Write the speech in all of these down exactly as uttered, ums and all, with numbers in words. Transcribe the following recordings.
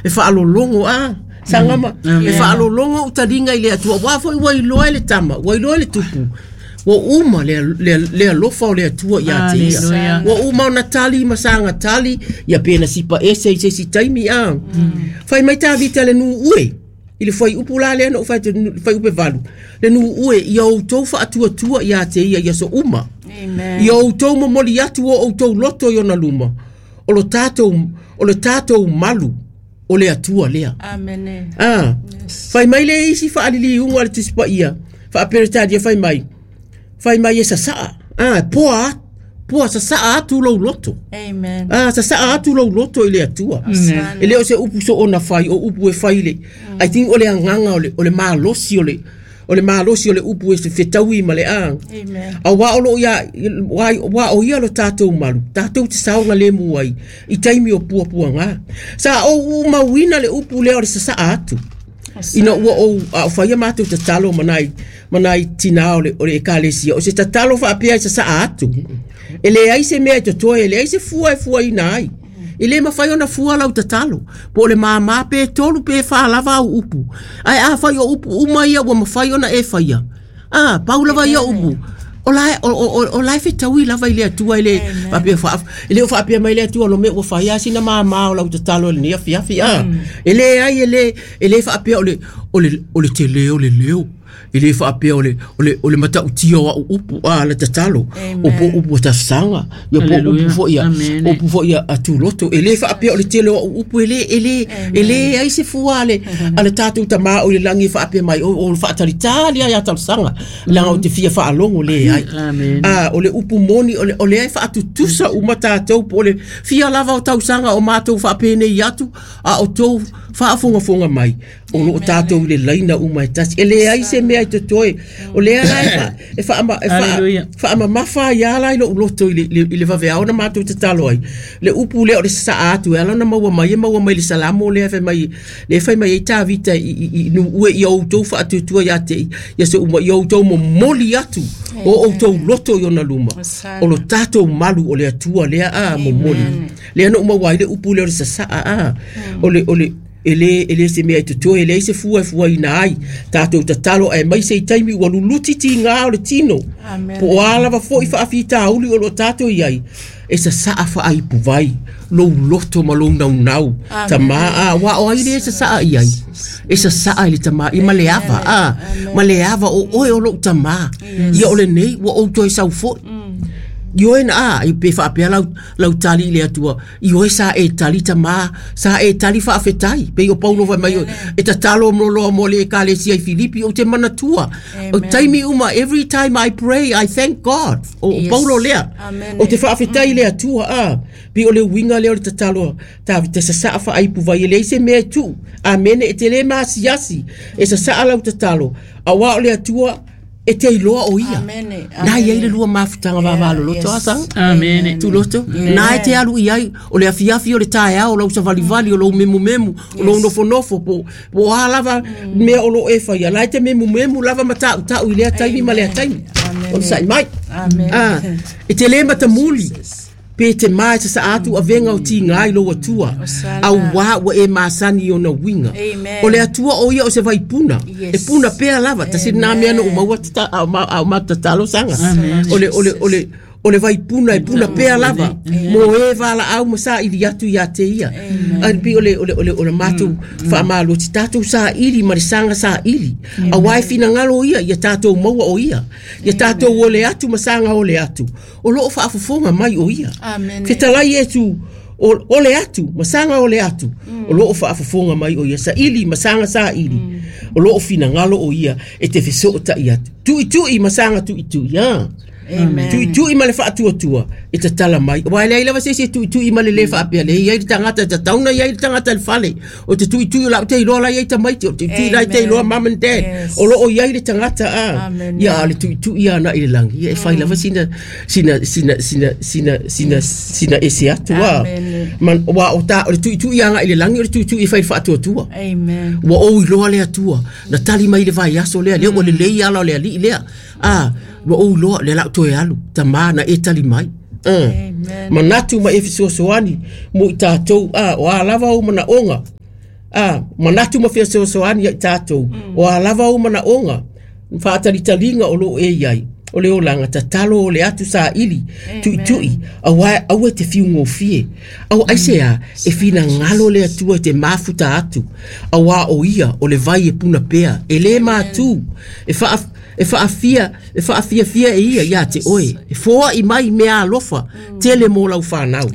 E faalologo a sagama e faalologo utaliga i le Atua uā foi ua iloa e le tama ua iloa e le tupu ua uma le, le, le alofa o le Atua ia te ia ua uma ona tali ma saga tali ia pe na sipa ese i se isi taimi a fai mai Tavita le nuu ue i le fuaiupu la lea na ou fai atu fuaiupu e valu le nuu ue ia outou faatuatua ia te ia ia so uma ia outou momoli atu o outou loto i ona luma o lo tatou o le tatou malu o le Atua lea. Amene. Ah, fai mai le isi faaliliuga a le Tusi Paia faa-Peretania fai mai fai mai e sasaa ah, poa poa sasaa atu lou loto. Amen. Ah, sasaa atu lou loto i le Atua. E le o se upu soona fai o upu e fai le I think o le agaga o le o le malosi o le o le malosi o le upu e se fetaui ma le a Amen. auā o loo ia uā o ia lo tatou malu tatou te saogalemu ai i taimi o puapuaga sa ou umauina le upu lea o le sasaa atu ina ua ou a o faia matou tatalo ma nai ma nai tinā o le o le ekalesia o se tatalo faapea e sasaa atu e leai se mea e totoe e leai se fua e fuaina ai e lē mafai ona fua lau tatalo po o le māmā pe tolu pe fā lava au upu ae afai o upu uma ia ua mafai ona e faia a pau lava ia upu o la o o o la e fetaui lava i le Atua e le faapea faa e le o faapea mai le Atua lo mea ua fai a sina māmā o lau tatalo i lenei afiafi a e leai e le e le faapea o le o le o le tele o le leo e le faapea o le o le o le matautia o au upu a le tatalo o po upu o tasaga ia po upu foi ia upu foi ia a tuloto e le faapea o le tele o au upu e le e le e le ai se fua ale a le tatou tamā o le lagi e faapea mai o o faatalitali ai a talosaga leaga o te fia faalogo le ai a o le upu moni o le o lea e faatutusa uma tatou po o le fia lava o tausaga o matou faapenei atu a o tou faafogafoga mai o loo tatou i le laina uma e tasi e leai se mea i totoe o lea la e fa e faama e faa faamamafa ai ala i lou loto i le i le vaveao na matou tatalo ai le upu lea o le sasaa atu e ala ona maua mai e maua mai le Salamo lea fai mai le fai mai ai Tavita i i i nuu ue ia outou faatuatua ia te ia se uma ia outou momoli atu o outou loto i ona luma o lo tatou malu o le Atua lea a momoli lea na uma ai le upu lea o le sasaa a o le o le e le e le se mea e totoe e leai se fua e fuaina ai tatou tatalo ae mai se i taimi ua luluti tigā o le tino po o a lava fo'i faafitauli o loo tatou i ai e sasaa faaipuvai lou loto ma lou naunau tamā a uā o ai le sasaa i ai e sasaa i le tamā i ma le ava a ma le ava o oe o lou tamā ia o lenei ua ou toe sau fo'i ioe na a i pe faapea lau lau tali i le Atua ioe sa e tali tamā sa e tali faafetai pei o Paulo fai mai e tatalo mo mo le ekalesia i Filipi ou te manatua o taimi uma every time I pray I thank God o Yes. Paulo lea Amen. o te faafetai i le Atua a pei o le uiga lea o le tatalo Tavita sasaa faaipuvai e leai se mea e tuu amene e te lē masiasi e sasaa lau tatalo auā o le Atua e te iloa o ia Amene. na iai le lua mafutaga vavaloloto Yes. a saga Amene. tuloto na e te alu i ai o le afiafi o le taeao o lau savalivali o lou memumemu o lou nofonofo po po a lava mea o loo e faia la e te memumemu lava ma tautau i lea taimi ma lea taimi Amen. o le sa'i mai Amen. ah e te lē matamuli pe te ma e sasaa atu avega o tigā i lou Atua Osana. auā ua e masani i ona uiga Amen. o le Atua o ia o se vaipuna Yes. e puna pea lava tasi lenā mea na ou maua tata- a o ma- a o matou tatalo saga o le o le o le o le vaipuna e puna pea lava mo e valaau ma saili atu iā te ia ai pei o le o le o le o le matou faamalosi tatou saili ma le saga saili auā e finagalo ia ia tatou maua o ia ia tatou ole atu ma saga ole atu o loo faafofoga mai o ia Amene. fetalai Iesu o ole atu ma saga ole atu o loo faafofoga mai o ia saili ma saga saili o loo finagalo o ia e te fesoota'i atu tu'itu'i ma saga tu'itu'i a Amen. tu'itu'i ma le faatuatua e tatala mai ua e leai lava se isi e tu'itu'i ma le lē faapea le iai le tagata e tatauna iai le tagata i le fale o te tu'itu'i o lau te iloa la iai tamaiti o te tu'itu'i la te iloa mum and dad Yes. o loo iai le tagata a Amen. ia a le tu'itu'i ana i le lagi ia e fai lava sina sina sina sina sina sina sina ese atu a Amen. man ua o ta o le tu'itu'i aga i le lagi o le tu'itu'i e fai le faatuatua Amen. ua ou iloa le Atua na tali mai le vaiaso lea lea ua lelei ala o le alii lea a ua ou iloa lea lau toe alu tamā na e tali mai Uh. Manatu ma e fesoasoani mo i tatou a o a lava ou manaoga a manatu ma fesoasoani ia i tatou o a lava ou manaoga faatalitaliga o loo e iai o le olaga tatalo o le atu saili tuitui aua aua e te fiugofie au aisea e finagalo le Atua e te mafuta atu auā o ia o le vai e puna pea e lē matū e faa e faafia e faafiafia e ia ia te oe e foaʻi mai mea alofa tele mo lau fanau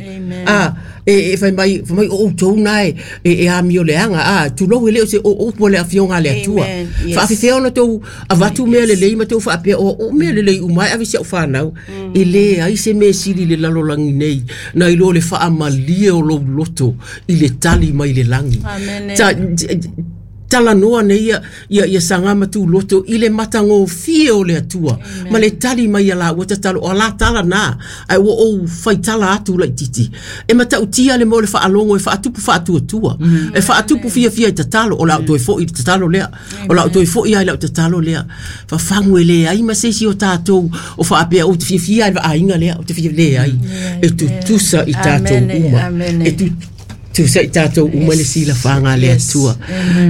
a e e fai mai fai mai o outou na e e amio leaga a tulou e lē o se o upu o le afioga a le Atua faafefea ona tou avatu mea lelei ma tou faapea o o mea lelei uma e ave si au fanau e lē ai se mea sili le lalolagi nei nai lo le faamalie o lou loto i le tali mai le lagi ta talanoa nei ia ia ia saga ma tuloto i le matagofie o le Atua ma le tali mai ia laua tatalo o la tala na ai ua ou faitala atu laititi e matautia le mo le faalogo e faatupu faatuatua e faatupu fiafia i tatalo o la toe foi i le tatalo lea o la toe foi ai lau tatalo lea fafagu e le ai ma se isi o tatou o faapea ou te fiafia ai le vaaiga lea ou te fia le ai e tutusa i tatou uma e tutusa tusa i tatou uma le silafaga a le Atua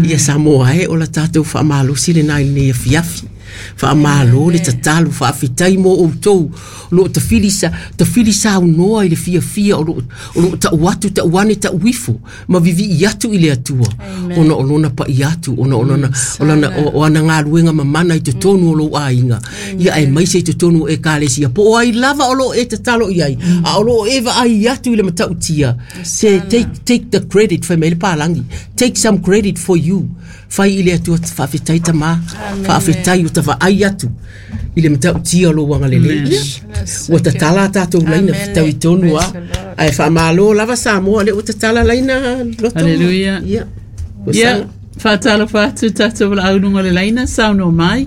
ia Samoa e o la tatou faamalosi lenā i lenei afiafi faamalo le tatalo faafetai mo outou o loo tafili sa tafili saunoa i le fiafia o loo o loo tau atu tau ane tau ifo ma vivii atu i le Atua ona o lona paia atu ona o lona o lana o ana galuega mamana i totonu o lou aiga ia aemaise i totonu o ekalesia po o ai lava o loo e tatalo i ai a o loo e vaai atu i le matautia se take take the credit fai mai le palagi take some credit for you fai i le Atua faafetai tamā faafetai o tavaai atu i le matautia o lou agalelei ia ua tatala a tatou laina fetau i tonu a ae faamalo lava Samoa lea ua tatala laina loto Hallelujah. ia Ia, faatalofa atu tatou valaau luga o le laina saunoa mai.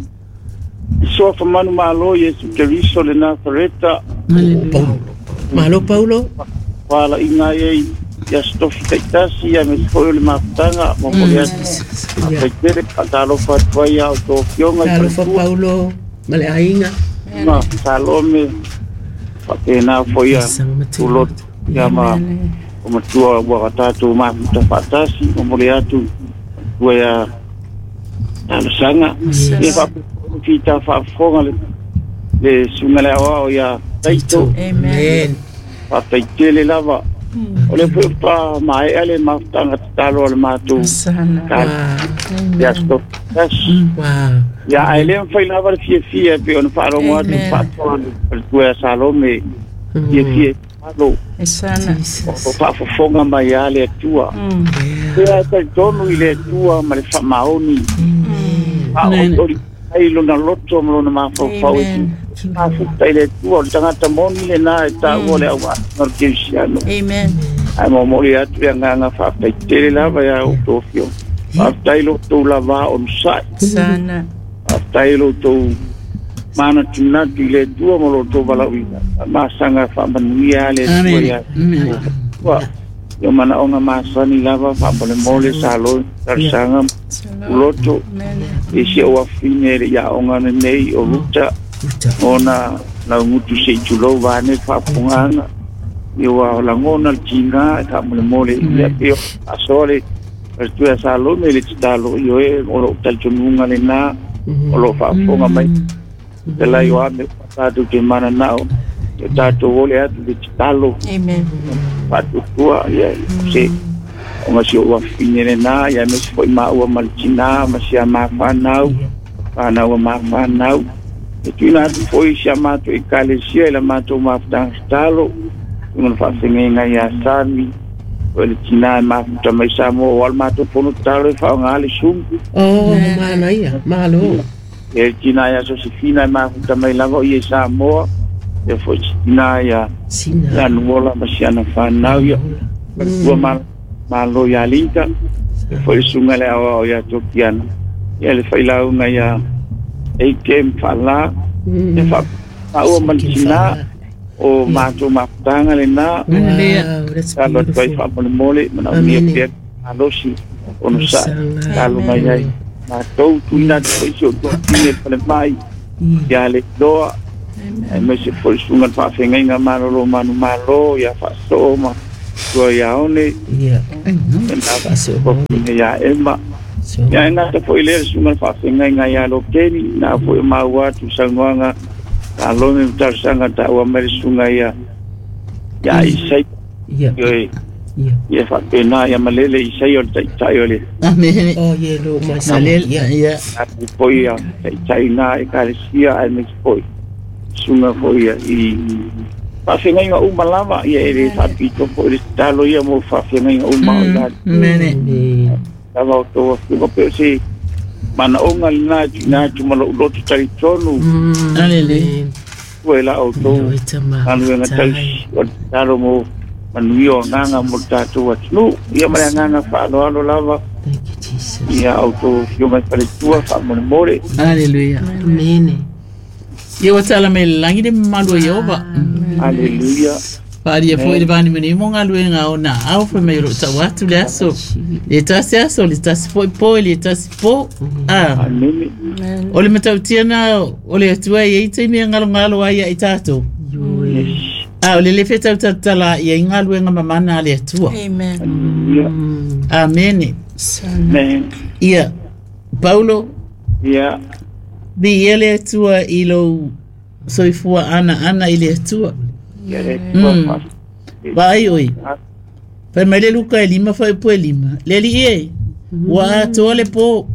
Soa fa manu malo Iesu Keriso le Nazareta. Hallelujah. Paulo malo Paulo Wala inga e ia stofi taitasi ia me foi o le mafutaga mo mo le atu. ia Faitele faatalofa atu ai a o tō fioga i talofa faletua. Paulo ma le aiga Ma Salome faapena foi ia saga matua tuloto ia ma o matua ua tatou mafuta faatasi mo mo le atu tua ia talosaga. Ia faapena fita faafofoga le le suga le aoao ia Taito. Amen. Faataitele lava. O le foi pa maea le mafutaga tatalo a le matou ka Wow. ia stop tasi. Wow. Ia ae le mafai lava le fiafia e pei ona faalogo atu faatoa le faletua ia Salome fiafia alo o faafofoga mai a le Atua. Ia e talitonu i le Atua ma le faamaoni. Faaolioli ai lona loto ma lona mafaufau e mafuta i le Atua o le tagata moni lenā e taua le auauna o le Kerisiano. Amen. Ae momoli atu le agaga faafetaitele lava ia outou afioga. Faafetai lo outou lavā onosai. Sana. Faafetai lo outou manatunatu i le Atua ma lo outou valaauina. Faamasaga faamanuia a le Atua Amen. ia Amen. Atua. Ia manaoga masani lava faamolemole Salo talosaga uloto e si ou afine le iaoga lenei o Luta Uta. ona laugutu se i tulou vane faafofogaga ia ua lagona le tiga e faamolemole ia pei o asoa le faletua ia Salome le tatalo ioe o loo talitonuga lenā o loo faafofoga mai telai o ame tatou te mananao ia tatou ole atu le tatalo Amen. faatuatua ia se ona si ou afine lenā ia aemaise foi maua ma le tinā ma si a mafanau fanau a mafanau e tuuina atu foi si a matou ekalesia i la matou mafutaga tatalo ona faafegaiga ia Sami o le tinā e mafuta mai Samoa o a le matou fono tatalo e faaaogā le sumu Oh, manaia. Malo. e le tinā ia Sosefina e mafuta mai lava o ia i Samoa ia foi si tinā ia Sina. ia Nuola ma si ana fanau ia ua ma malo ia Linka e foi le suga le aoao ia Tokiana ia le failauga ia Eikem Faalā e faaua ma le tinā o matou mafutaga lenā Hallelujah. Wow, that's talo atu ai beautiful. faamolemole manaomia Amen. pea malosi onosai Saga. talo mai ai matou tuuina atu foi si ou toatine le falemai ia le iloa Aemaise foi le susuga le faafeagaiga malolo manumalo ia faasoo ma tua ia one Ia. Faafeagaiga ia Ema. Ia e gata foi lea le susuga le faafeagaiga ia Lokeni na foi o maua atu saunoaga Salome ma talosaga taua mai le susuga ia ia Isai. Ia. Ioe. Ia. Ia faapena ia malele Isai o le taitai o le Amen. Oh, ye lo mai sa. Malele. Ia. Ia. atu foi ia taitai na ekalesia aemaise foi susuga foi ia i faafeagaiga uma lava ia e le faapito foi le tatalo ia mo faafeagaiga uma o ila Amen. Amen. lava o tou afioga pe o se manaoga lena e tuuina atu ma lou loto talitonu Hallelujah. ua e la outou Oi tama. galuega tausi o le tatalo mo manuia o agaga mo le tatou atunuu ia ma le agaga faaaloalo lava Thank you, Jesus. ia outou afioga i faletua faamolemole. Hallelujah. Amen. Ia ua tala mai le lagi le mamalu o Ieova. Haleluia. Faalia foi le vanimanimu mo galuega o na ao fai mai o loo tau atu le aso. Le tasi aso, le tasi foi po, le tasi po. Ah. Amene. O le matautia na o le atua e i taimi e ngalongalo ai ia i tātou. Yes. A o le le whetau tatala ia i galuega mamana a le atua. Amen. Haleluia. Amene. Amen. Ia, Paulo, Ia. vi ia le atua i lou soifua ana ana i le atua. Ia le Atua Mm. faa- Vaai oi. Fai mai le Luka e lima fai po e lima. Le li e, ua atoa le po.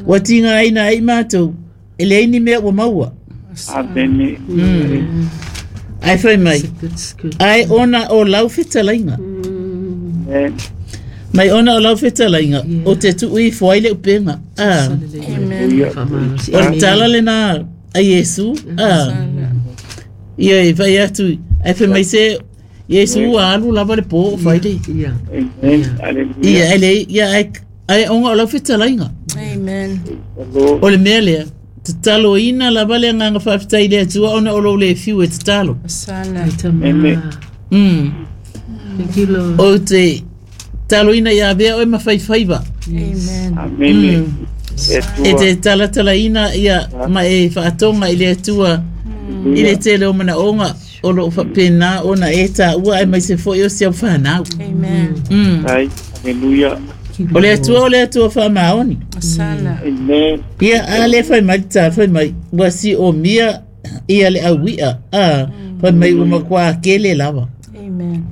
Ua tinga ai na ai mātou. E le ni mea ua maua. Amene. Mm. Ai fai mai. Good, good. Ai ona o lau fetalainga. Amen. Mai ona o lau fetalainga. O te tuu i fuai le upenga. Ah. Amen. O le tala le na a Iesu. Ah. Ia e fai atu. Ai fai mai se Iesu ua alu lava le po o fai le. Ia. Amen. Haleluia. Ia ai le ia ai ai onga o lau fetalainga. Amen. Lord. O le mea lea, tatalo ina lava le agaga faafetai le Atua ona o lou le fiu e tatalo. Sana. Amen. Mm. Thank you, Lord. O te talo ina ia avea oe ma faifaiva. Amen. Amene. E Atua. te talatalaina ia ma e whaatonga i le Atua i le tele o manaonga o loo whapena ona e tāua ai mai se foi o si au whanau. Amen. Mm. Ai. Haleluia. O le Atua o le Atua whaamaoni. Sana. Amen. Ia a le whai mai tā whai mai ua si o mia ia le awia a whai mai ua makua kele lava. Amen.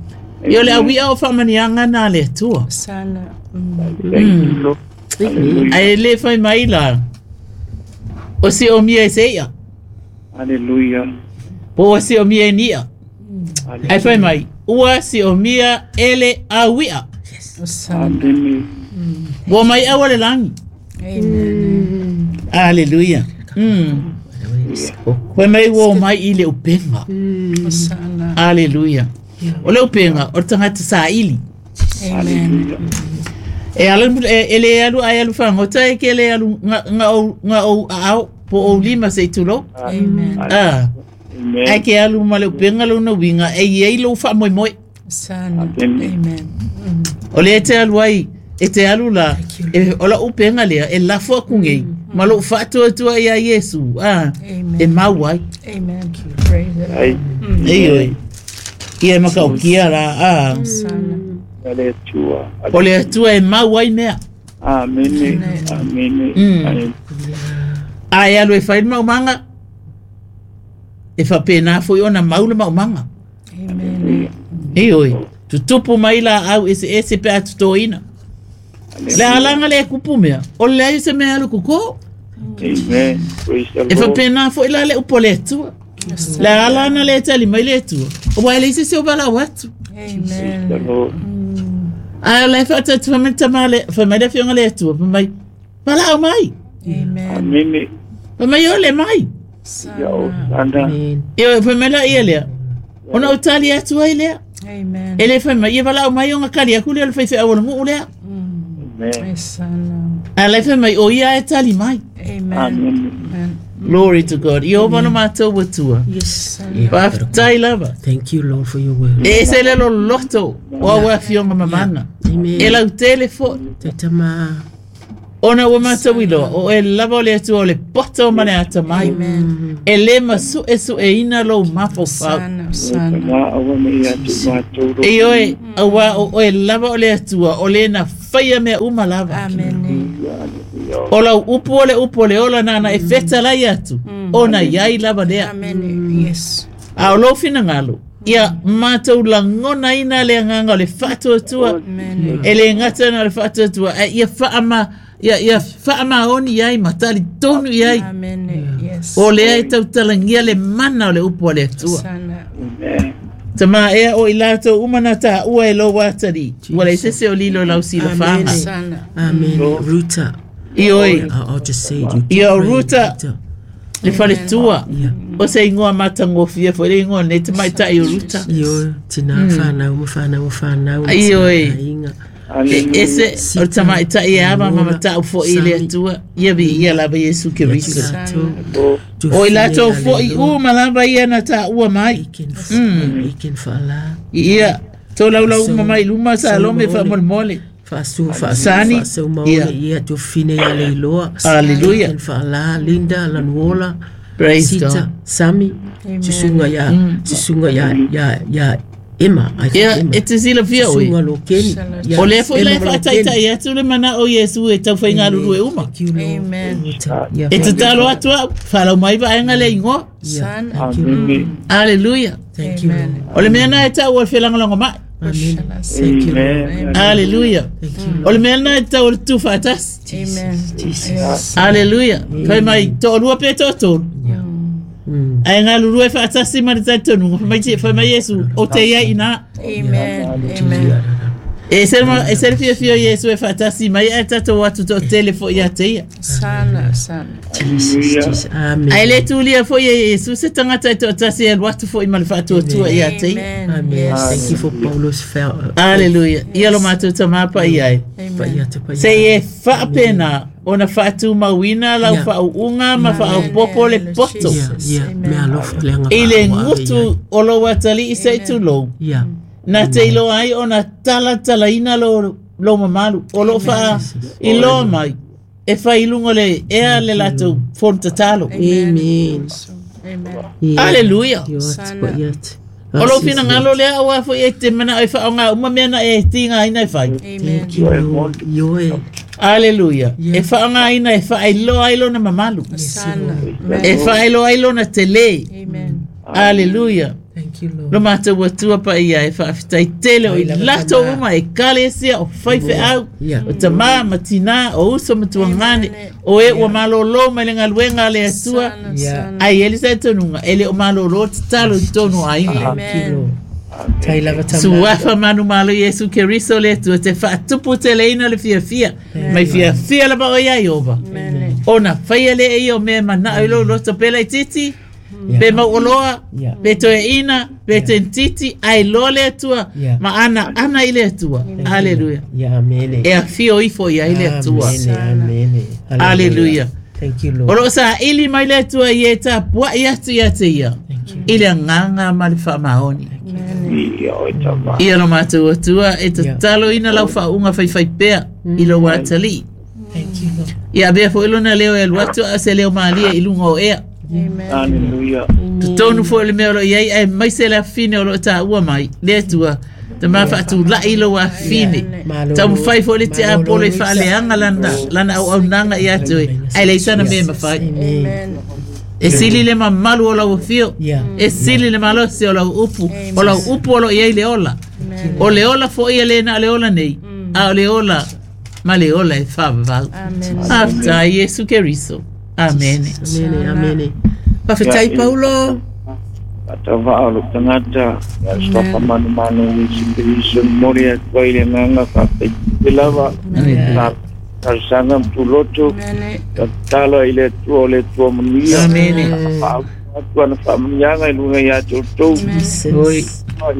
Ia o le awia o whamanianga nā le Atua. Sana. Mm. Thank you, Lord. Hallelujah. Ai le whai mai la o si o mia e se ia. Hallelujah. Po o si o mia e nia. Ai whai mai ua si o mia ele awia. Sana. Amen. Ua mai awa le langi. Amen. Hallelujah. Mm. Whai mai ua o mai i le upenga. Sana. Hallelujah. O le upenga o le tangata saili. Amen. Hallelujah. E ala e, e le alu ai alu whangota e ke le alu nga, nga o, nga o ao po o lima se tulo. Amen. Ah, Amen. ai ke alu ma le upenga lo na winga e iei lo wha moi moi. Sana. Amen. Amen. O le te alu ai, e te alu la, e, o la upenga lea, e lafo aku ngei, ma lo whaatua tua ia Yesu. Ah, Amen. e mau ai. Amen. Praise the Lord. Ai. E oi. Ia e makaukia la, ah. Sana. Le Atua. O le atua e mau ai mea. Amen. Amen. Mm. Amen. A e alu e whai le maumanga, e whapena foi ona mau le maumanga. Amen. E oi, tutupu mai la au ese ese pe atutoina. Le alanga le kupu mea, o le ai se mea alu kuko, Amen. Praise the e Lord. whapena foi la le upo le atua. Le alana le tali mai le atua, o wai le se se o bala watu. Amen. The Lord. A le whaatatu whamai tamale, whamai le whionga le atua, whamai, bala au mai, Amen. Amen. whamai o le mai. Ia o Sana. sana. Amen. E oi, whamai la ia lea, ona o tali atua i lea. Amen. E le whamai, ia bala au mai o ngakali aku lea o le whaiwhai awala nguu lea. Amen. Sana. A le whamai o ia e tali mai. Amen. Amen. Amen. Glory to God. I o mana mātou watua. Yes. Whaftai lava. Thank you, Lord, for your word. E se le lo loto o awa fionga mamana. Amen. E lau tele fo Te tama. Ona ua matauiloa o e lava o le Atua o le poto ma le atamai. E le masuʻesuʻeina lou mafaufau. E oe, auā o oe lava o le Atua o le na faia mea uma lava. O lau upu o le upu o le ola nana e fetalai atu, ona iai lava lea. A o lou finagalo, ia matou lagonaina le agaga o le faatuatua, e le gata na o le faatuatua, ae ia faama ia ia faamaoni ai ma talitonu i ai. O lea e tautalagia le mana o le upu a le Atua. Tama ea o i latou uma na taua e lou atalii, ua leai se o lilo i lau silafaga. Amen. Ruta. Ioe. I'll just say you. Ia o Ruta le faletua. O se ingoa matagofie foi le ingoa nei tamaitai o Ruta. Ioe, tina whanau, ma whanau, whanau. Ioe. E ese o tamaitai e ava ma matau foi i le Atua. Ia vi ia lava Iesu Keriso. O i latou foi uma lava ia na taua mai. Ia, tō laulau uma mai luma Salome faamolemole. Faasu, faasu, Sani. faasu maole, ia tofine ia leiloa. Hallelujah. Faala, Linda, Lanuola, Praise Sita, God. Sami, Susunga ia, Susunga ia, ia, ia Emma, I think Ia, Emma. e te silafia oe. Susunga Lokeni. Ia, O lea foi lai Emma Lokeni. faataitai atu le mana o Iesu e taufaigālulu e uma. Thank you, Lord. Amen. Ia, E tatalo atu au, whalau mai vaenga le ingoa. ia, thank you, Lord. Hallelujah. Thank you, Lord. O le mea na e tau o le felagolago mai. Amen. Thank you, Lord. Hallelujah. Thank you, O le mea na e tau o le tufaatasi. Amen. Jesus. Hallelujah. Fai mai to'alua pe to'atolu. Mm. Ae galulue faatasi ma le talitonuga. Fai mai te- fai mai Iesu, o te iai ina. Amen. Amen. E se ma e se le fiafia o Iesu e faatasi mai ae tatou atu to'atele fo'i ia te ia. Sana, sana. Jesus, Jesus. Amen. Ae le tulia fo'i e Iesu se tagata e to'atasi e alu atu fo'i ma le faatuatua ia te ia. Amen. Amen. Yes. Thank you for Paulo's fail. Hallelujah. Ia lo matou tamapa i ai. Amen. Se e faapena ona faatumauina lau Yeah. faauuga ma faaopopo le poto. Yeah, yeah. Me alofa le anga I le wha- wha- gutu o lou atalii se i tulou. Yeah. Na te iloa ai ona talatalaina lo, lo mamalu. O loo faa iloa mai. E fai i luga o le ea le latou fono tatalo. Amen. Amen. Yeah. Hallelujah. Io atu, pa ia atu. O lou finagalo lea auā foi e te manao e faaaogā uma mea na e tigaina e fai. Amen. Thank you, Lord. Io e. Hallelujah. Yeah. E faaaogāina e faailoa ai lona mamalu. Sana. E faailoa ai lona telē. Amen. Hallelujah. Thank you, Lord. Lo matou atua paia e faafetai tele o i latou uma e kalesia o faifeau Yeah. o tamā ma tinā o uso ma tuagane o e ua malōlō mai le galuega a le Atua. Sana, Yeah. sana. Ai e le talitonuga e le o malōlō tatalo i tonu o aiga. Thank you, Lord. Tai lava tama. Suafa manu malo Iesu Keriso le Atua te faatupu teleina le fiafia mai fiafia lava o ia Iova. Amen. Ona faia le e ia o mea manao i lou loto pela i titi Yeah. pe mauoloa Yeah. pe toeina pe tentiti ae loa le Atua Yeah. ma ana ana i le Atua. Hallelujah. Yeah, amen. E afio ifo iai le Atua. Amen. Amen. Hallelujah. Thank you, O Lord. loo saili mai le Atua i e tapuaʻi atu ia te ia Thank you. i le agaga ma le faamaoni. Amen. Ia lo matou Atua e tataloina lau faauuga faifaipea i lou atalii. Thank you, Lord. Ia avea foʻi lona leo e alu atu a se leo malie i luga o ea. Amen. Hallelujah. Totonu foʻi le mea o loo iai ae maise le afine o loo taua mai le Atua tamā faatulaʻi lou afine. Malo. Taumafai foʻi le tiapolo i faaleaga lana lana auaunaga ia te oe ae leai sana mea e mafai. Amen. Amen. E sili le mamalu o lau afio. Yeah. E sili le malosi o lau upu. O lau upu o loo iai le ola. O le ola foʻi e lē na o le ola nei. A o le ola ma le ola e faavavau. Amen. Faafetai Iesu Keriso. Amene. Amen. Amen. Pafetai Paulo. Atava o lo tagata, ia sofa manu manu i Keriso mori atu ai le agaga faafetai lava. Hallelujah. Talosaga ma tuloto, Amen. tatalo ai le Atua o le Atua manuia. Amene. Faaupu atu ana faamanuiaga i luga ia te outou. Oi.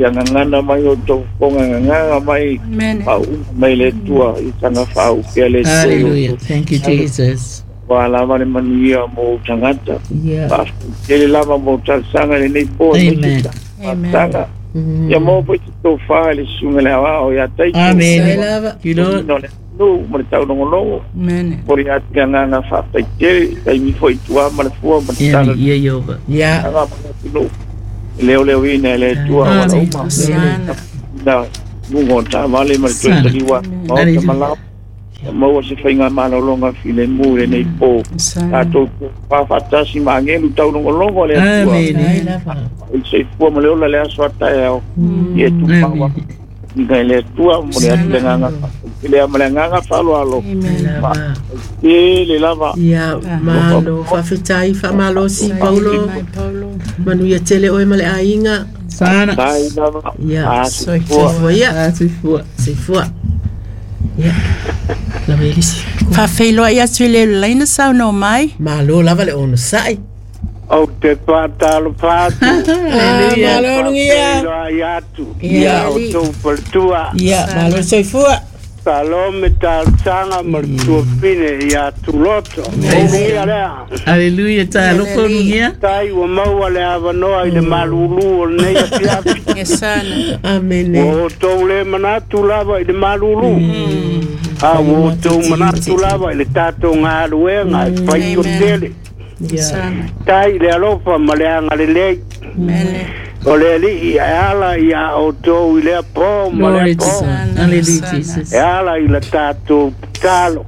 Ia gagana mai o tou fofoga gagaga mai Amen. faauuga mai le Atua i saga faaupea le Atua i Hallelujah. outou. Thank you, Jesus. Ua lava le manuia mo ou tagata. Yeah. Faafetai lava mo talosaga lenei po. Amen. Amen. Faafetaga. Ia maua foi te tofā i le susuga le aoao ia Taito. Amen. Tai lava. Thank you, Lord. No le atunuu ma le taulogologo poli atu le agaga fa'afetaitele taimi fo'i tuā ma le fua ma le tala ia Iova ia aga ma le atunuu leoleoina e le Atua auala uma na luga o taavale ma le toe taliua maota ma lao maua se faiga malologa filemu i lenei po tatou fa'afaatasi ma agelu taulogologo a le Atua i le soifua ma le ola le aso a taeao ia e tumau iga i le Atua mo le atu le agaga lea ma le agaga fa'aloalo tele lava ia malo fa'afetai fa'amalosi Paulo manuia tele oe ma le aiga sana tai lava ia soifua ia soifua soifua ia lava elisi fa'afeiloa'i atu i le laina saunoa mai malo lava le onosa'i Ou te whātalo whātu. Malo lugia. Ia atu. Ia o tō palatua. Ia, malo soifua. Salome tālsanga ma le tuapine ia tuloto. Ia lea. Hallelujah, tālofo lugia. Tai ua maua le avanoa i le malulu o lenei afiafi. Amene. Ua o tou le manatu lava i le malulu. A ua o tou manatu lava i le tātou ngāluenga e whai o tele. Tai le alofa ma le anga le lei. O le alii e ala ia o tō i lea pō ma lea pō. Hallelujah, Jesus. E ala i la tātou talo.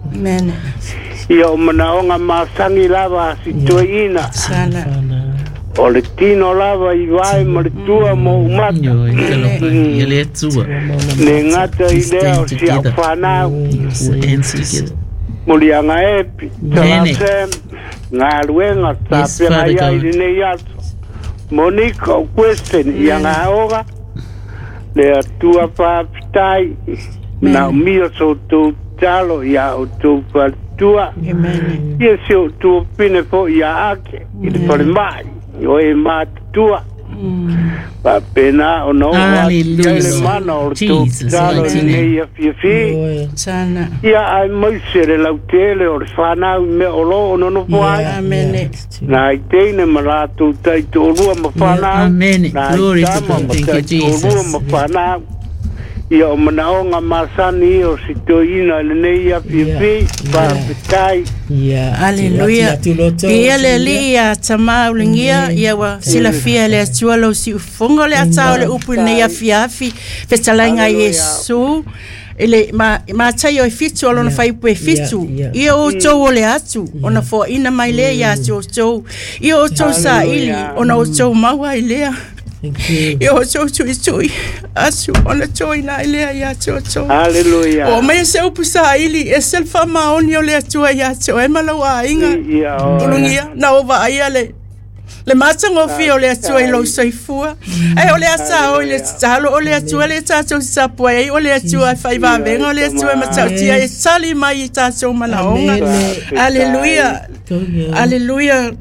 Ia o manaonga masangi lava a si toeina. O le tino lava i vai ma le tua mo umata. Io, i te lopa, ia le atua. Ne ngata i lea o si au whanau. Molianga epi, talasem, ngā luenga, tā pera ia i lenei aso. Monika o question ia ngā ora, le atua whaapitai, nā umia so tō talo ia o tō whalatua. Ia se o tō pine fo ia ake, i te whare mai, o e mātutua. Pa pena o no o le mana o tō talo i nei a fiafi. Ia ai maise le lautele o le whanau me o lo o nono po ai. Nā i teine ma rātou tai tōrua ma whanau. Nā i tama ma tai tōrua ma whanau. Ia o manaonga masani o si toina le nei a fiafi. Whaapitai. Aleluia. Ia le alii ia tamā uligia ia ua silafia le Atua lou siufofoga o le atā o le upu i lenei afiafi fetalaiga Iesu i le matai o e fitu o lona faiupu e fitu ia outou o le atu ona foaʻina mai lea iā te outou ia outou saʻili ona outou maua ai lea ia outou tuitui atu ona toina ai lea iā te outou. Hallelujah. O mai se upu saʻili e se le faamaoni o le Atua iā te oe ma lau aiga ulugia na o vaaia le le matagofie o le Atua i lou soifua ai o le asa o i le tatalo o le Atua le tatou tapuai ai o le Atua e faivavega o le Atua e matautia e tali mai i tatou manaoga. Aleluia. Aleluia.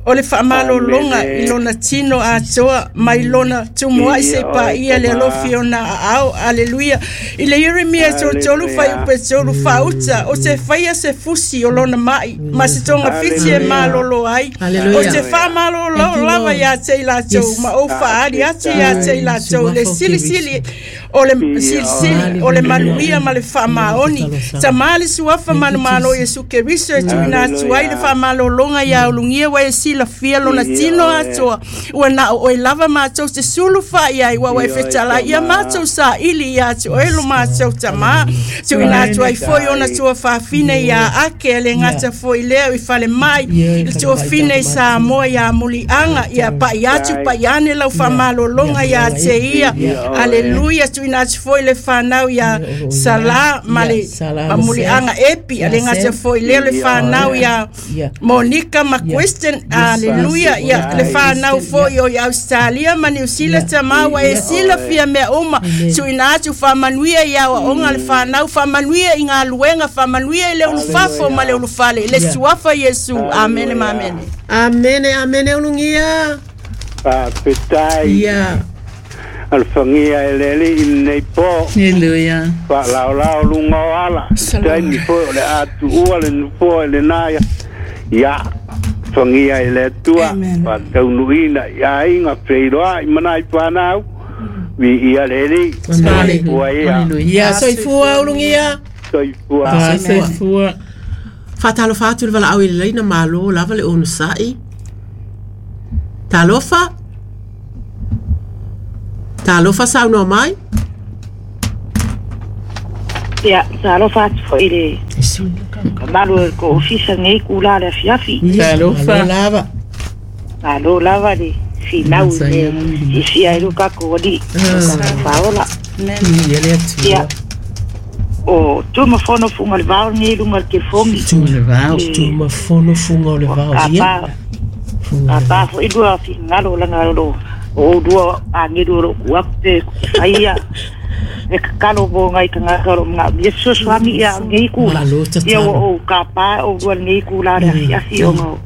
O le faamalologa i lona tino atoa mai lona tumuaʻi se paia le alofi ona aao. Aleluia. I le Ieremia tolutolu faiupu tolu faauta o se faia se fusi o lona maʻi ma se togafiti e malolo ai o se faamalolo lava iā te i latou ma ou faaali atu iā te i latou le silisili o le silisili o le manuia ma le faamaoni tamā le suafa manumalo Iesu Keriso e tuuina atu ai le faamalologa iā ulugia ua e silafia lona tino atoa ua na o oe lava matou te sulu fa'i ai ua ua e fetalai ia matou saʻili iā te oe lo matou tamā tuuina atu ai foi ona tuafafine iā ake e le gata foi lea i falemai le tuafine i Samoa iā muliaga ia paʻi atu paʻi ane lau faamalologa iā te ia. Aleluia. Tuuina atu foi le fanau iā Salā ma le mamuliaga epi a le gata foi lea le fanau iā Monika ma Question. Aleluia. Ia le fanau foi o i Australia ma Niu Sila tamā ua e silafia mea uma tuuina atu faamanuia ia aoaoga le fanau faamanuia i galuega faamanuia i le ulufafo ma le ulufale i le suafa Iesu. Amene ma amene. Amene amene ulugia. Fa'afetai. Ia Alfangia e le alii i lenei pō. Hallelujah. Faalaolao luga o ala taimi foi o le atuua le nofoa i lenā ia fangia i le Atua faataunuuina i aiga feiloaʻi ma nai fanau viia le alii. Soifua ia. Ia soifua ulugia. Soifua. Soifua. Faatalofa atu le valaau i le laina malo lava le onosa'i. Talofa. Talofa saunoa mai. Ia, talofa atu fo'i le malu o ko ofisa nei kula le afiafi. Talofa. Lava. Malo lava le finau le isia e luka ko ali. Faola. Ia le atu. Ia. O tumafono funga le vao nei lunga le telefongi. Tu le vao. Tumafono funga o le vao. Ia. A pa fo ilua fingalo langa lo o dua angeru lo kuakte aia e kalo bo ngai kanga kalo nga Yesu swami ia ngai kula ia o ka pa o dua ngai kula le afi o ngo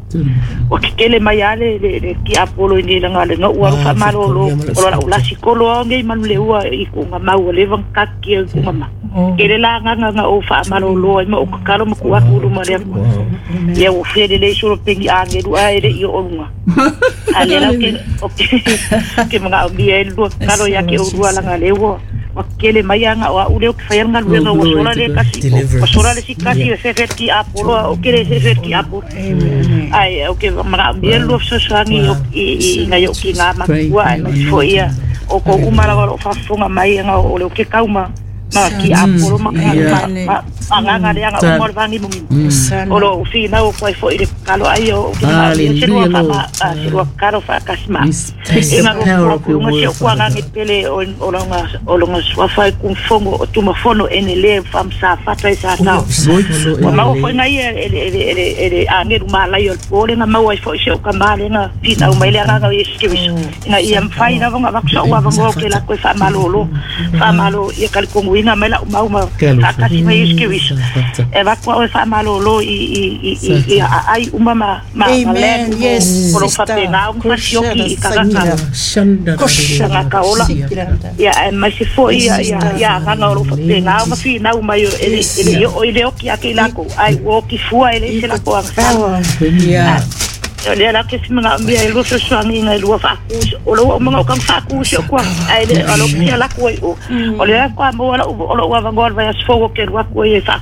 o kele mai ale le le ki apolo ni langa le no ua fa malo lo o la la sikolo ngai manu le ua i ku nga mau le vang ka ki ku ma kele la nga nga o fa malo lo ma o kalo ma ku aku lu ma le ia o fele le solo pengi angeru ai le i o lunga ale la ke o ke mga o mi e lu kalo ia ke o dua langa le ua o kele mai anga o ule o ke whai anga luenga o sola le kasi o sola le si kasi o sefer ki apolo o kele sefer ki apolo ai o ke mga mi e lu sosoangi o i ngai o ki ngā makua ai mai fo ia o ko umara o whafonga mai anga o le o ke kauma ma ki apolo ma ma ma nganga le anga o morvangi mungi o lo whina o koe fo i le kalo ai o ke mga se lua fa ma se lua kalo fa kasima e nga ro ko nga se ko nga ngi pele o o longa o longa swafa ku fongo o tumafono ene le fam sa fata sa ta o ma o fo ngai ele ele ele ele angeru malai o pole nga mau ai fo se o ka male nga whina o mai le anga o skiwiso nga ia mfai na vonga vaksa o avanga o ke la koe fa malolo fa malo ia kalikongu ina mai la mau ma akasi mai skiwiso e va kwa o fa malolo i i i i ai uma ma ma Amen. Yes, o fa pena o fa sioki ka ka ka ola ia e mai se fo ia ia ia nga o fa pena o fa na uma ele ele o ile o ki akila ko ai o ki fua ele se la ko ia o le la ke se mga mia e luso swangi ngai lua fa ku o lo o mga o kam fa ku se ko ai le o lo ki la ko o o le ko mo la o lo wa ngol va sfo ke lua ko e fa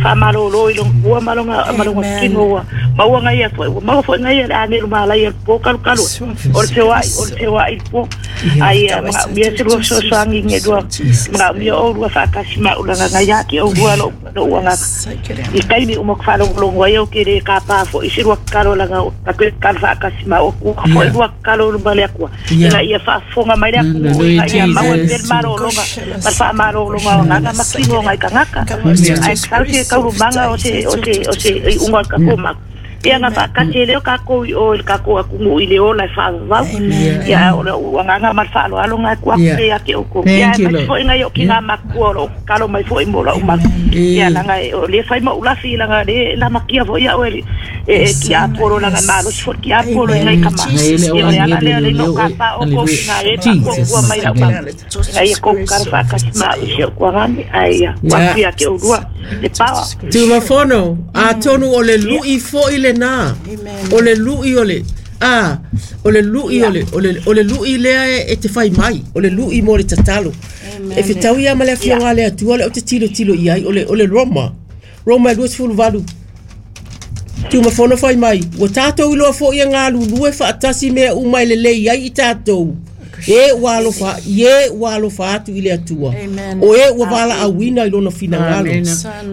fa malo lo i long ua malonga malonga kino ma ua ngai fo ma fo ngai le ane ma la ia po kalu kalu o te wa o te wa i po ai ma mia se lua so swangi ngai lua mga mia o lua fa kasi ma ula ngai ya ki o lua lo lo ua nga i kaimi o mo fa lo lo ngai o ke le ka pa fo i se lua kalo la nga ka ka fa kasi ma o ku fo lua kalo lo bale ku ina ia fa fonga mai le ku ia ma o del maro lo nga ma fa maro lo nga nga ma kino ngai ka ngaka ai ka se ka manga o se o se o se unga ka koma ia nga fa kasi le ka ko o ka ko ku i le ola fa va ia o nga nga ma fa lo alo nga ku ke ya ke o ko ia ma fo inga yo ki nga ma ku o kalo mai fo i mo la uma ia la nga o le fa mo ula fi la nga le la makia fo ia o e ki a poro la nga ma lo fo ki a poro inga ka ma ia la le le no ka pa o ko nga e ko ku mai la ma ai ko ka fa ka ma o ko nga ai ia ku ya ke o rua le pa Tumafono a tonu o le lui fo i le na o le lui o le a o le lui o le o le o le lui lea e te fai mai o le lui mo le tatalo e fetau ia ma le afioga le atua le o te tilo tilo i ai o le o le Roma Roma lua sefulu valu Tumafono fai mai ua tatou iloa fo'i e galulue faatasi mea uma e lelei ai i tatou e ua alofa e ua alofa atu i le Atua o e ua valaauina i lona finagalo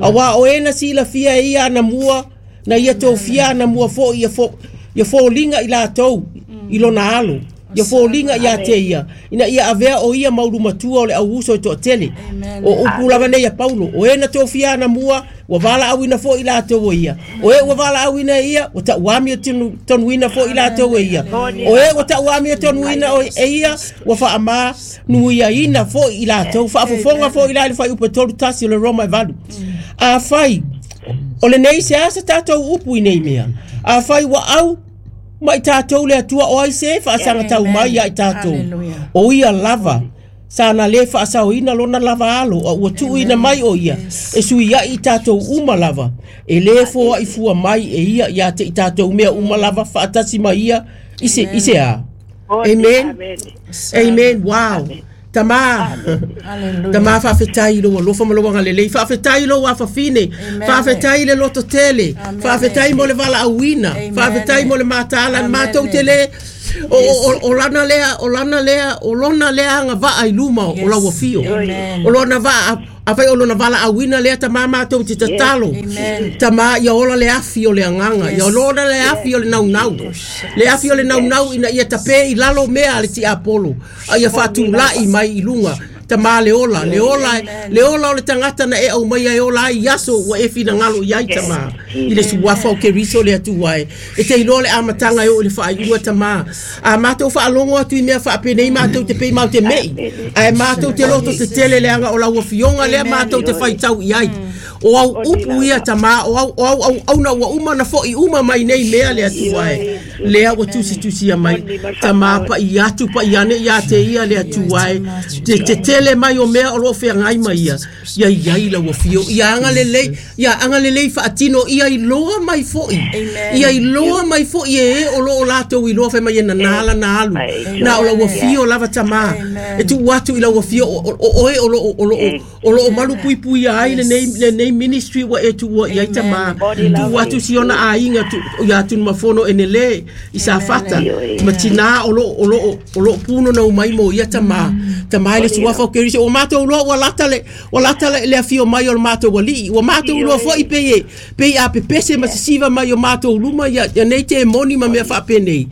auā o e na silafia e ia anamua na ia tofia anamua fo'i ia fo ia foliga i latou i lona alo ia foliga ia te ia ina ia avea o ia maulumatua o le auuso e toatele o upu lava nei ia Paulo o e na tofia anamua ua valaauina fo'i latou o ia o e ua valaauina e ia ua ta'uamia tonuina fo'i latou e ia o e ua ta'uamia tonuina e ia ua fa'amā nuiaina fo'i i latou fa'afofoga fo'i la i le faiupu e tolu tasi o le Roma e valu afai o lenei se asa tatou upu i nei mea afai ua au mai tatou le Atua o ai se faasagatau mai ia i tatou o ia lava sana le faasaoina lona lava alo a ua tuuina mai o ia e suia'i i tatou uma lava e lē foa'i fua mai e ia ia te i tatou mea uma lava faatasi ma ia i se i se a Amen. Amen. Wow. Tama Tama faafetai lo alofa ma lou agalelei faafetai lou afafine faafetai le loto tele faafetai mo le valaauina faafetai mo le mataala matou tele o o lana lea o lana lea o lona lea agavaa i luma o lau afio o lona vaa afai o lona valaauina lea tama matou te tatalo tama ia ola le afi o le agaga ia ola le afi o le naunau le afi o le naunau ina ia tape i lalo mea le tiapolo a ia faatulai mai i luga tama le ola le ola le ola o le tagata na e au mai ai ola ai aso ua e finagalo i ai tama i le suafa o Keriso le Atua e e te iloa le amataga e oo i le faaiuga tama a matou faalogo atu i mea faapenei matou te pei mau te mei ae matou te loto tetele leaga o lau afioga lea matou te faitau i ai o au upu ia tama o au o au au auna ua uma na fo'i uma mai nei mea le Atua e lea ua tusitusia mai tama pa'i atu pa'i ane ia te ia le Atua e te tetele mai o mea o loo feagai mai ia ia iai lau afio ia agalelei ia agalelei faatino ia iloa mai fo'i ia iloa mai fo'i e o loo latou iloa fai mai e nanā lana alu na o lau afio lava tama e tuu atu i lau afio o oe o loo o loo o loo malupuipuia ai lenei lenei ministry ua e tuua i ai tama tuu atu siona aiga ia Tunumafono enele i Safata ma tina o loo o loo o loo puno mai mo ia tama tama i le suafa o Keriso o matou loa ua lata le ua lata le afio mai o le matou alii ua matou loa fo'i pei e pei a pepese ma sisiva mai o matou luma ia ia nei te moni ma mea faapenei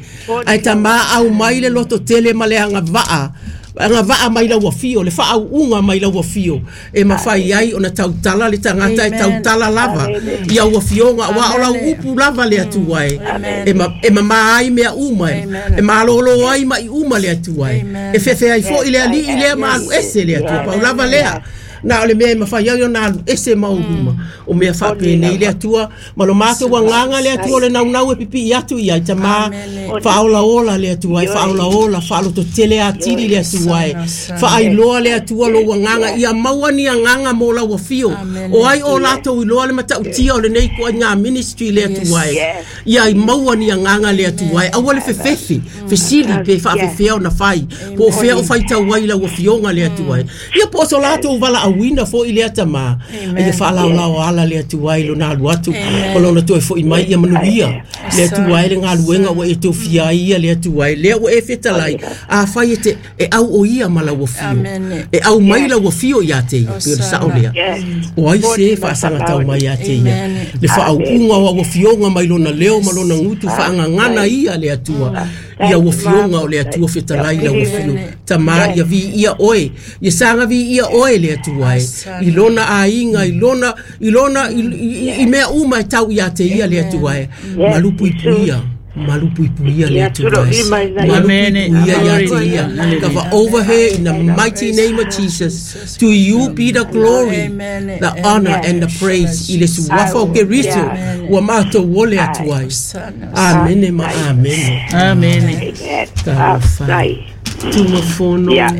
ae tama au mai le loto tele ma le agavaa agavaa mai lau afio le faauuga mai lau afio e mafai ai ona tautala le tagata e tautala lava ia ua afioga aua o lau upu lava le Atua e e e mamā ai mea uma e e malōlō ai ma'i uma le Atua e e fefe ai fo'i le alii lea ma alu ese le Atua pau lava lea na o le mea e mafai ai ona alu ese mau luma o mea faapenei le Atua ma lo matou agaga le Atua o le naunau e pipii atu i ai tama faaolaola le Atua e faaolaola faalototele atili le Atua e faailoa le Atua lou agaga ia maua ni agaga mo lau afio o ai o latou iloa le matautia o lenei koaiga ministry le Atua e ia i maua ni agaga le Atua e aua le fefefe fesili pe faafefea ona fai po o fea o faitau ai lau afioga le Atua e ia po o so latou valaauina fo'i lea tama ia faalaolao ala le Atua i lona alu atu o lona toe fo'i mai ia manuia le Atua e le galuega ua e tofia ai ia le Atua e lea ua e fetalai afai e te e au o ia ma lau afio e au mai lau afio ia te ia pe o le sa'o lea o ai se faasagatau mai ia te ia le faauuga o au afioga mai lona leo ma lona gutu faagagana ia le Atua ia ua afioga o le Atua fetalai lau afio tama ia viia oe ia saga viia oe le Atua e i lona aiga i lona i lona i mea uma e tau ia te ia le Atua e malupuipuia malupuipuia le Atua e malupuipuia ia te ia cover over her in the mighty name of Jesus. To you be the glory, the honor and the praise i le suafa o Keriso ua matou ole atu ai. Amene ma amene. Amene. Talofa Tunumafono ia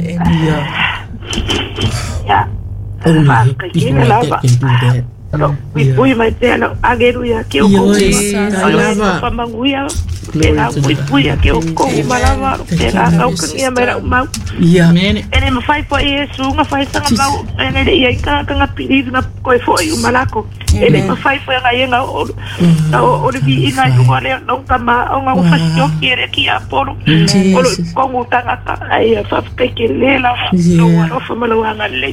only people like that can do that. Pui mai pea lau ageru ia ke o kou ma pamanguia pena pui pui ke o kou malava pena kau kangia mai rau mau ia ene mafai foi Yesu nga fai sanga mau ene le ia ka ka pili na koe foi umalako ene mafai foi nga ia o o le vi inga i le no kama o nga fasio ki re ki apolo o lo kongu tangata ai fa ke le la no ro fa malo anga le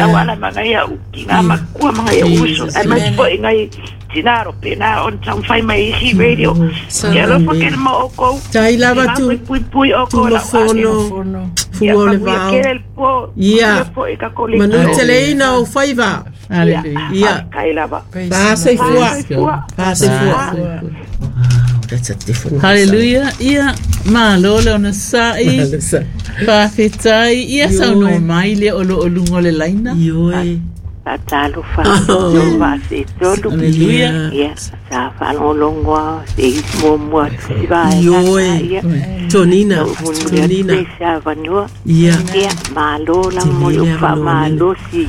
au ala manga ia uki nga makua manga ia uso ai mai foi ngai tinaro pena on tau fai mai isi radio ke alo fa ke mo o kou tai lava tu pui pui o kou la fono fua le vao ia manu teleina o faiva. Hallelujah. Kai lava pa se fua pa se fua. Wow, that's a different one. Hallelujah. Ia malo le ona sa'i faafetai ia saunoa mai le o loo luga o le laina. Ioe Talofa no se tolu. Hallelujah. Ia sa faalogologoa se isi muamua tusiva Ioe Tonina Tonina sa vanua ia ia malo la mo le faamalosi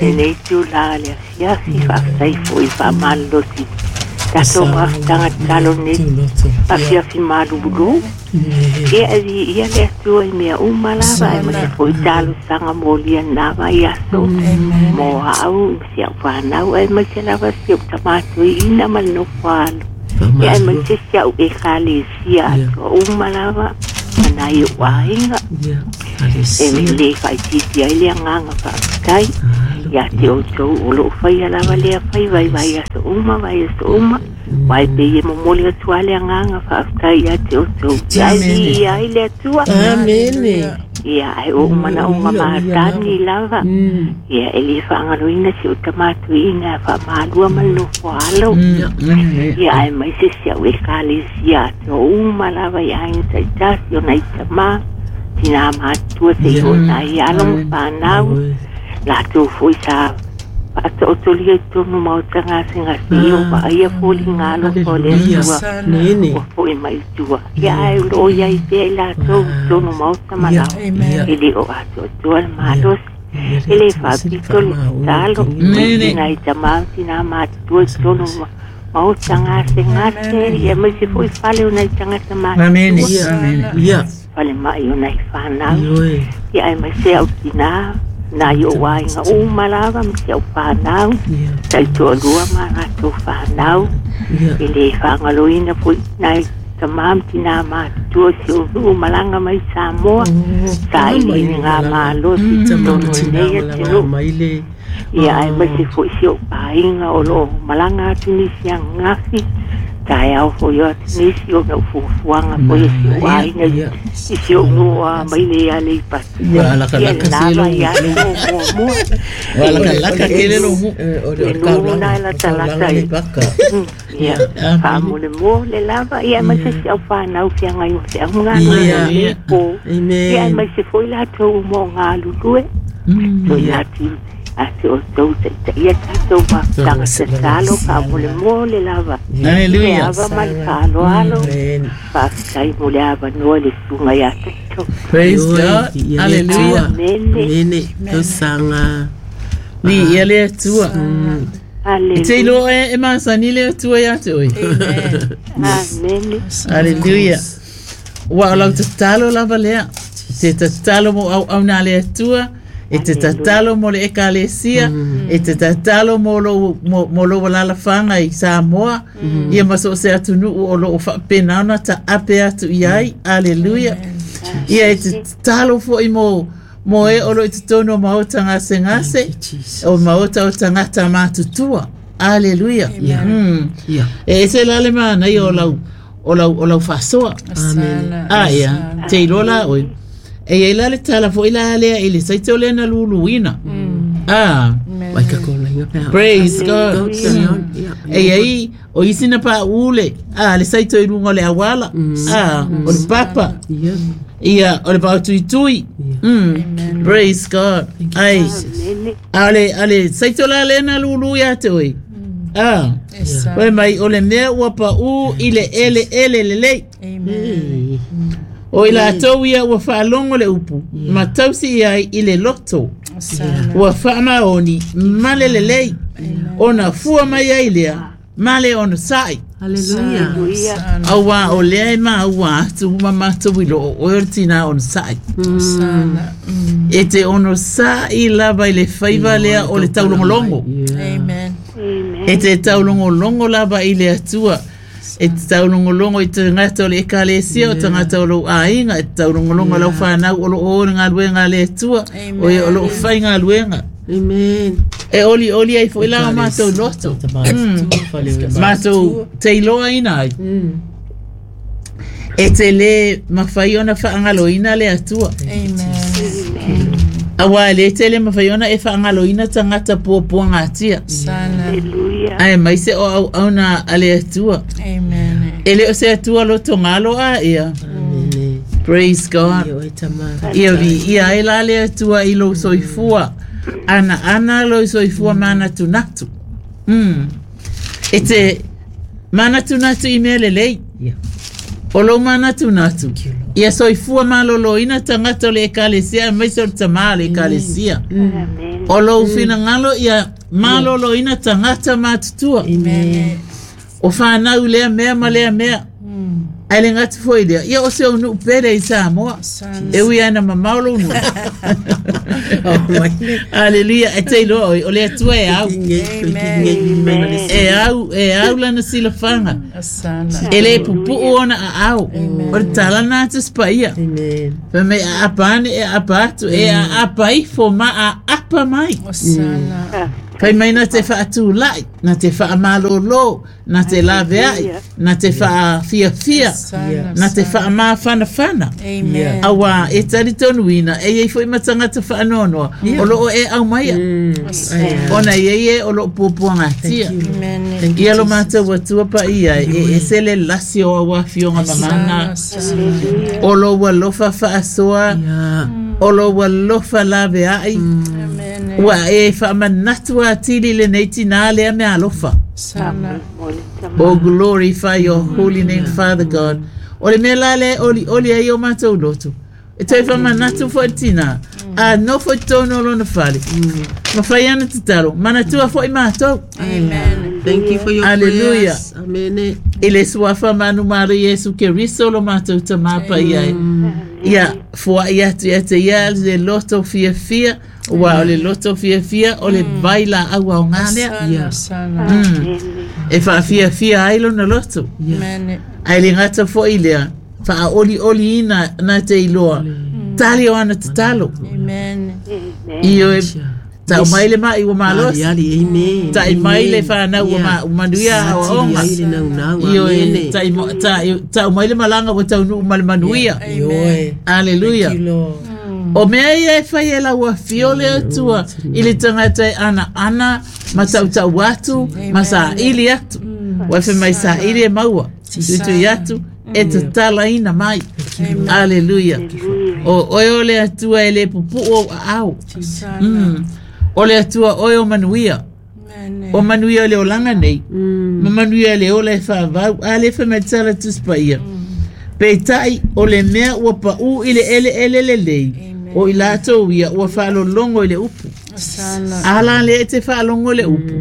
lenei tula le asiasi faafetai fo'i faamalosi Tatou mafutaga tatalo nei afiafi malulu ia viia le Atua i mea uma lava aemaise foʻi talosaga molia lena vaiaso mo aʻau ma si aʻu fanau aemaise lava si oʻu tamatoiina ma le nofo alo ia aemaise si aʻu ekalesia atoa uma lava ma nai oʻu aiga e lē faʻaitiiti ai le agaga faafetai ia te outou o loo faia lava lea faiva i vaiaso uma vaiaso uma uae pei e momoli atu a le agaga faafetai ia te outou ia e viia ai le Atua. Amene. Ia ae oʻu manaʻoga matani lava ia e lē faagaloina si ou tamatuiina faamalua ma le nofo alo ia ae maise si aʻu ekalesia atoa uma lava i aiga taʻitasi ona i tamā tinā matua seʻi oo nai alo ma fanau latou foʻi sa faataotolia i totonu maota gasegase ia o vaaia foliga alofa o le Atua ua foʻi mai i tua ia ae o loo iai pea i latou i totonu maota ma lao e lē o atoatoa le malosi e lē faapito le tatalo tinai tamā tinā matutua i totonu maota gasegase ia maise foʻi fale o nai tagata matutua fale maʻi o nai fanau ia ae maise au tinā nai oʻu aiga uma lava ma si aʻu fanau taʻitoalua ma latou fanau e lē faagaloina foʻi nai tamā ma tinā matutua si ou nuu malaga mai Samoa saʻiliiliga malosi totonu lenei atunuu ia ae maise foʻi si oʻu paaiga o loo malaga atu nisi agagafi taeao foʻi o atu nisi ona ou fuafuaga foi e si oʻu aiga i si oʻu nuu a mai le Aleipata ia lenā vaiaso o muamua le nuu na e latalata ia faamolemole le lava ia aemaise si au fanau feagai ma feauga galuega po ia aemaise foʻi latou uma o galulue toina atu a te outou taʻitaʻia tatou mafutaga tatalo faamolemole lava le ava ma le faaaloalo faafetai mo le avanoa le susuga iā tatou. Praise God. Hallelujah. Amene. Tausaga viia le Atua. E te iloa e masani le Atua iā te oe. Amene. Hallelujah. Ua o lau tatalo lava lea te tatalo mo auauna a le Atua e te tatalo mo le ekalesia e te tatalo mo lou mo lou alalafaga i Samoa ia ma so o se atunuu o loo faapena ona taape atu iai. Aleluia. Ia e te tatalo foʻi mo mo e o loo i totonu o maota gasegase o maota o tagata matutua. Aleluia. E ese la le manaia o lau o lau o lau faasoa. A ia te iloa la oe e iai la le tala foʻi la lea i le saite o lea na luluina. Ah, praise God. E iai o isi na paʻu le a le saito i luga o le auala a o le papa ia o le paotuitui. Praise God. Ai a le a le saito la lea na lulu iā te oe a oe mai o le mea ua paʻu i le eleele lelei o i latou ia ua faalogo le upu ma tausi ai i le loto ua faamaoni ma le lelei ona fua mai ai lea ma le ona saʻi. Hallelujah. Auā o lea e maua atu ma matou i loo oe o le tinā ona saʻi e te ono saʻi lava i le faiva lea o le taulogologo e te taulogologo lava i le Atua e te taulogologo i tagata o le ekalesia o tagata o lou aiga e te taulogologo lau fanau o loo o le galuega a le Atua o ia o loo faigaluega. Amen. E oli oli ai foʻi la o matou loto matou teiloaina ai e te lē mafai ona faagaloina le Atua. Auā e lē tele mafai ona e faagaloina tagata puapuagatia ae maise o auauna a le Atua e lē o se Atua lotogalo a ia. Praise God. Ia viia ai la le Atua i lou soifua ana ana lou soifua manatunatu. Mm. E te manatunatu i mea lelei o lou manatunatu ia soifua malōlōina tagata o le ekalesia aemaise o le tamā o le ekalesia o lou finagalo ia malōlōina tagata matutua O whanau lea mea ma lea mea. Ai le ngati foi lea. Ia o se o nuu pele i Samoa. E ui ana mamao lo nuu. Aleluia. E te iloa oi. O le atua e au. E au, e au lana silafanga. E le pupu ona a au. O le talana atu spaia. Fa me a apa ane e apa atu. E a apa ifo ma a apa mai. Fai mai na te whaatulai, na te whaamalolo, na te laveai, na te whaafiafia, na te whaamawhanawhana. Awa, e tari tonuina, e ei foi matangata whaanonoa, o loo e au maia. Ona e e o loo puapuangatia. Ia lo mātou atua pa ia, e e sele lasi o awa fionga mamana. O lo walofa whaasoa, o lo walofa laveai. Ua e whaamanatu a tili le nei tina lea mea alofa. Oh, glorify your holy name, Father God. O le mea la le oli oli ai o mātou loto. E toi whaamanatu fo tina. A no fo tono lona fale. Ma whai ana te taro. Manatua fo i mātou. Amen. Thank you for your Hallelujah. prayers. Amen. I le suafa manu mara Yesu Keriso lo mātou ta mapa iai. Ia, fua ia atu ia te ia le loto fia fia. Ua o le loto fia fia o le vaila aua o ngā lea. E wha fia fia ai lona loto. Ai le ngata fo i lea. Wha oli oli ina na te iloa. Tali o ana te talo. Iyo e tau mai le mai ua malosi. Tai mai le whanau ua manuia awa onga. Iyo e tau mai le malanga ua tau nuu male manuia. Hallelujah. O mea ia e whai e lau fio le atua i le tangata e ana ana ma tautau atu ma sa ili atu. Wa mai sa ili e maua. Tutu atu e te talaina mai. Hallelujah. O oe o le atua e le pupu o au. Mm. O le atua oe o manuia. O manuia le olanga nei. Ma manuia le ola e whaavau. A le wha mai tala tuspaia. Peitai o le mea ua pau i le ele ele le lei. O i lātou ia ua whaalolongo i le upu. Ala le e te whaalongo le upu.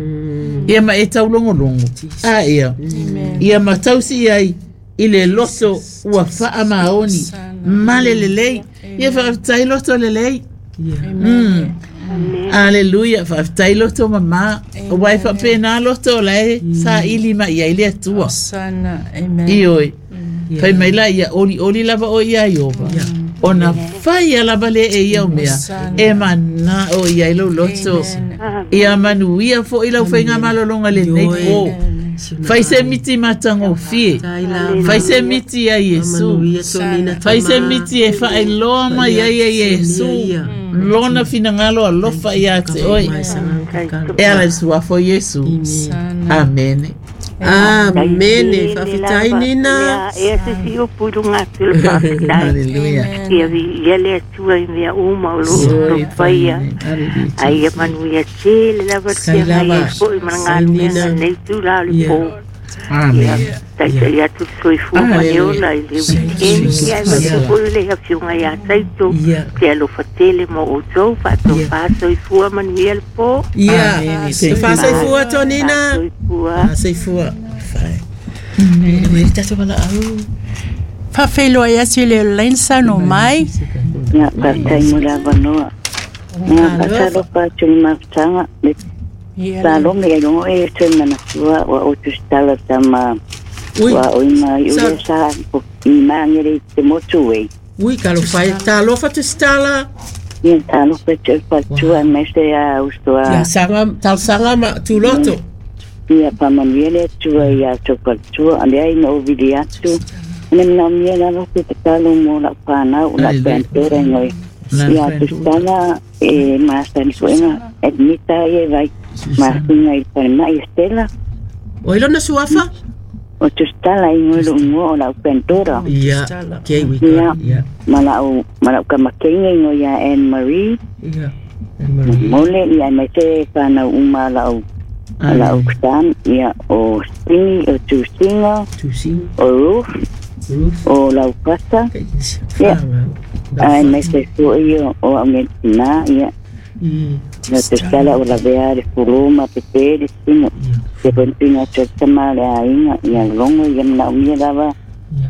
Ia ma e taulongolongo. A ia. Ia ma tausi ai i le loto ua whaa maoni. Male le lei. Ia whaaftai loto le lei. Mm. Hallelujah. Whaaftai loto mama. Wai whapena loto lae sa ili ma ia ile atua. Ioi. Fai mai la ia oli oli lava o ia iova. Ona whai a lava le e ia o mea. E mana o ia ilo loto. Ia manuia fo ila whainga malolonga le nei po. Fai se miti matango fie. Fai se miti ia Yesu. Fai se miti e whaeloa mai ia ia Yesu. Lona finangalo alofa ia te oi. E ala suafo Yesu. Amen. Amen. Whawhitai nina. Ia se si o purunga atu le whawhitai. Hallelujah. Ia vi ia le atua i mea uma o lo paia. Ai ia manuia tele lava te ngai e fo i mana ngā mea nei tū la le pō. Amen. Tai atu soifua ma e ola i le weekend. Ia e mo le afionga ia taito. Te alofa tele mo o tau whaato whaasoifua manuia le pō. Ia. Whaasoifua Tonina. Whaasoifua. Amen. Whawheloa ia si le lensa no mai. Ia whaatai mo lava noa. Ia whaatalofa atu ni mafutanga. Salome e longo e te manatua wa o tustala tama wa o ima i ule sa i maangere i te motu e. Ui, kalofai, talofa tustala. Ia, talofa te patua mese a ustoa. Ia, sanga, talsanga ma tuloto. Ia, pamanuele atua ia tau patua, alea ina o vili atu. Ane mna mia lava te tatalo mo la whanau, la pantera ngoi. Ia, tustala e maasani fuenga, admita e vai. Masinga i pare mai Stella. O ilona suafa? O tustala i ngolo ngo o la pentora. Ia, okay, we got it. Yeah. Mala o mala ka makenga ngo ya Anne Marie. Ia. Anne Marie. Mole ia mai te kana uma la o la o stan ia o Stingy o Tusinga. Tusinga. O Ruth. Ruth. O la Pasta. Ia. Ai mai te so ia o ame na ia. Mm. Na te sala o la vea le fulu ma pe te le tino. Te ponpina te tama le aiga ia longo ia manaomia lava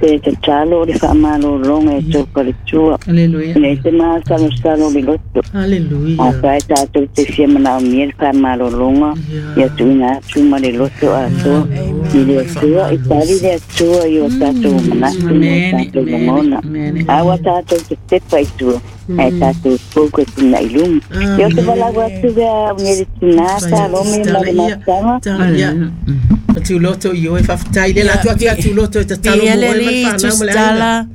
te tatalo o le faamalōlōga e tou faletua. Aleluia. Ina te masalosalo le loto. Aleluia. Afai tātou te fia manaomia le faamalōlōga ia tuuina atu ma le loto atoa i le Atua i tali le Atua i o tātou manatu ma o tātou lagona. A ua tātou te tepa i tua ae tātou pouka tuna i luma. Ia o te valaau atu vea o le tinā Salome ma le mafutaga. Ia. Atu loto i oe faafetai le la atu atu atu loto e tatalo mo oe ma le whanau ma le aiga.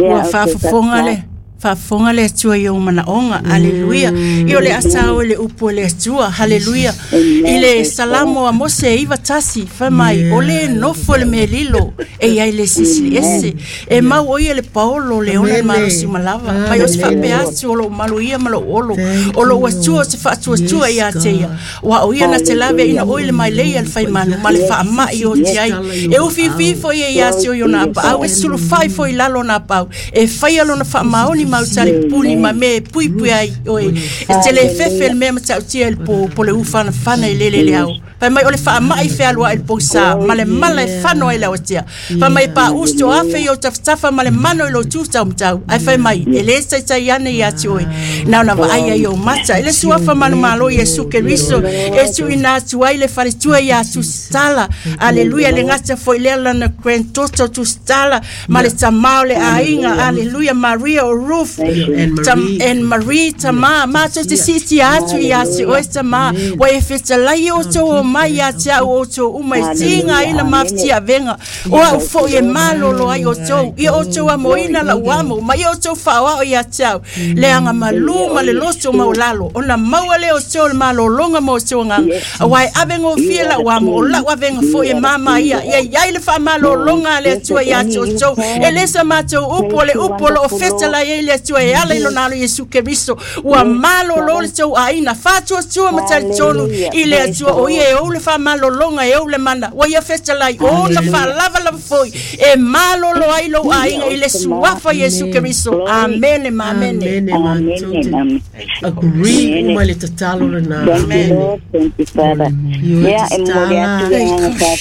Ua faafofoga le faafofoga le Atua i ou manaoga. Aleluia. I o le asa o le upu o le Atua. Haleluia. I le Salamo a Mose iva tasi fai mai o le nofo le melilo e iai le sisi ese e mau o ia le paolo le ona malosi malava mai o se faapea atu o lou malu ia ma lou olo o lou Atua o se faatuatua ia te ia ua o ia na te lave ina oi le mailei a le faimanu ma le faama'i o te ai e ufiufi foi ia ia te oi ona apaau e sulufai foi lalo na apaau e faia lona faamaoni mau tali puni ma me pui pui ai oi e te le fefe le mea matautia i le po po le ufanafana i lele le au fai mai o le faama'i fealua'i le pousā ma le mala e fano ai le aotia fai mai pa uso afe i o tafatafa ma le mano i lo tutau matau ai fai mai e le taitai ane ia te oe na ona vaai ai o mata e le suafa manumalo Iesu Keriso e tuuina atu ai le faletua ia Tusitala. Aleluia. Le gata foi lea lana granddaughter Tusitala ma le tamā o le aiga. Aleluia. Maria o Ruth and Marie, and Marie tamā matou te siitia atu ia te oe tamā ua e fetalai outou o mai ia te au outou uma e tigaina mafatiavega o au fo'i e malolo ai outou ia outou amoina lau amo ma ia outou faaoao ia te au le agamalū ma le loto maulalo ona maua lea outou le malōlōga ma outou agaga auā e avegofie lau amo o lau avega fo'i e māmā ia ia iai le faamalōlōga a le Atua ia te outou e lē sa matou upu o le upu o loo fetalai ai le Atua e ala i lona alo Iesu Keriso ua malōlō le tou aiga faatuatua ma talitonu i le Atua o ia e ou le faamalōlōga e ou le mana ua ia fetalai ona faalavalava foi e malōlō ai lou aiga i le suafa Iesu Keriso. Amene ma amene. Amene. Agree uma le tatalo lena. Thank you Lord, thank you Father. Ia e momoli atu le agaga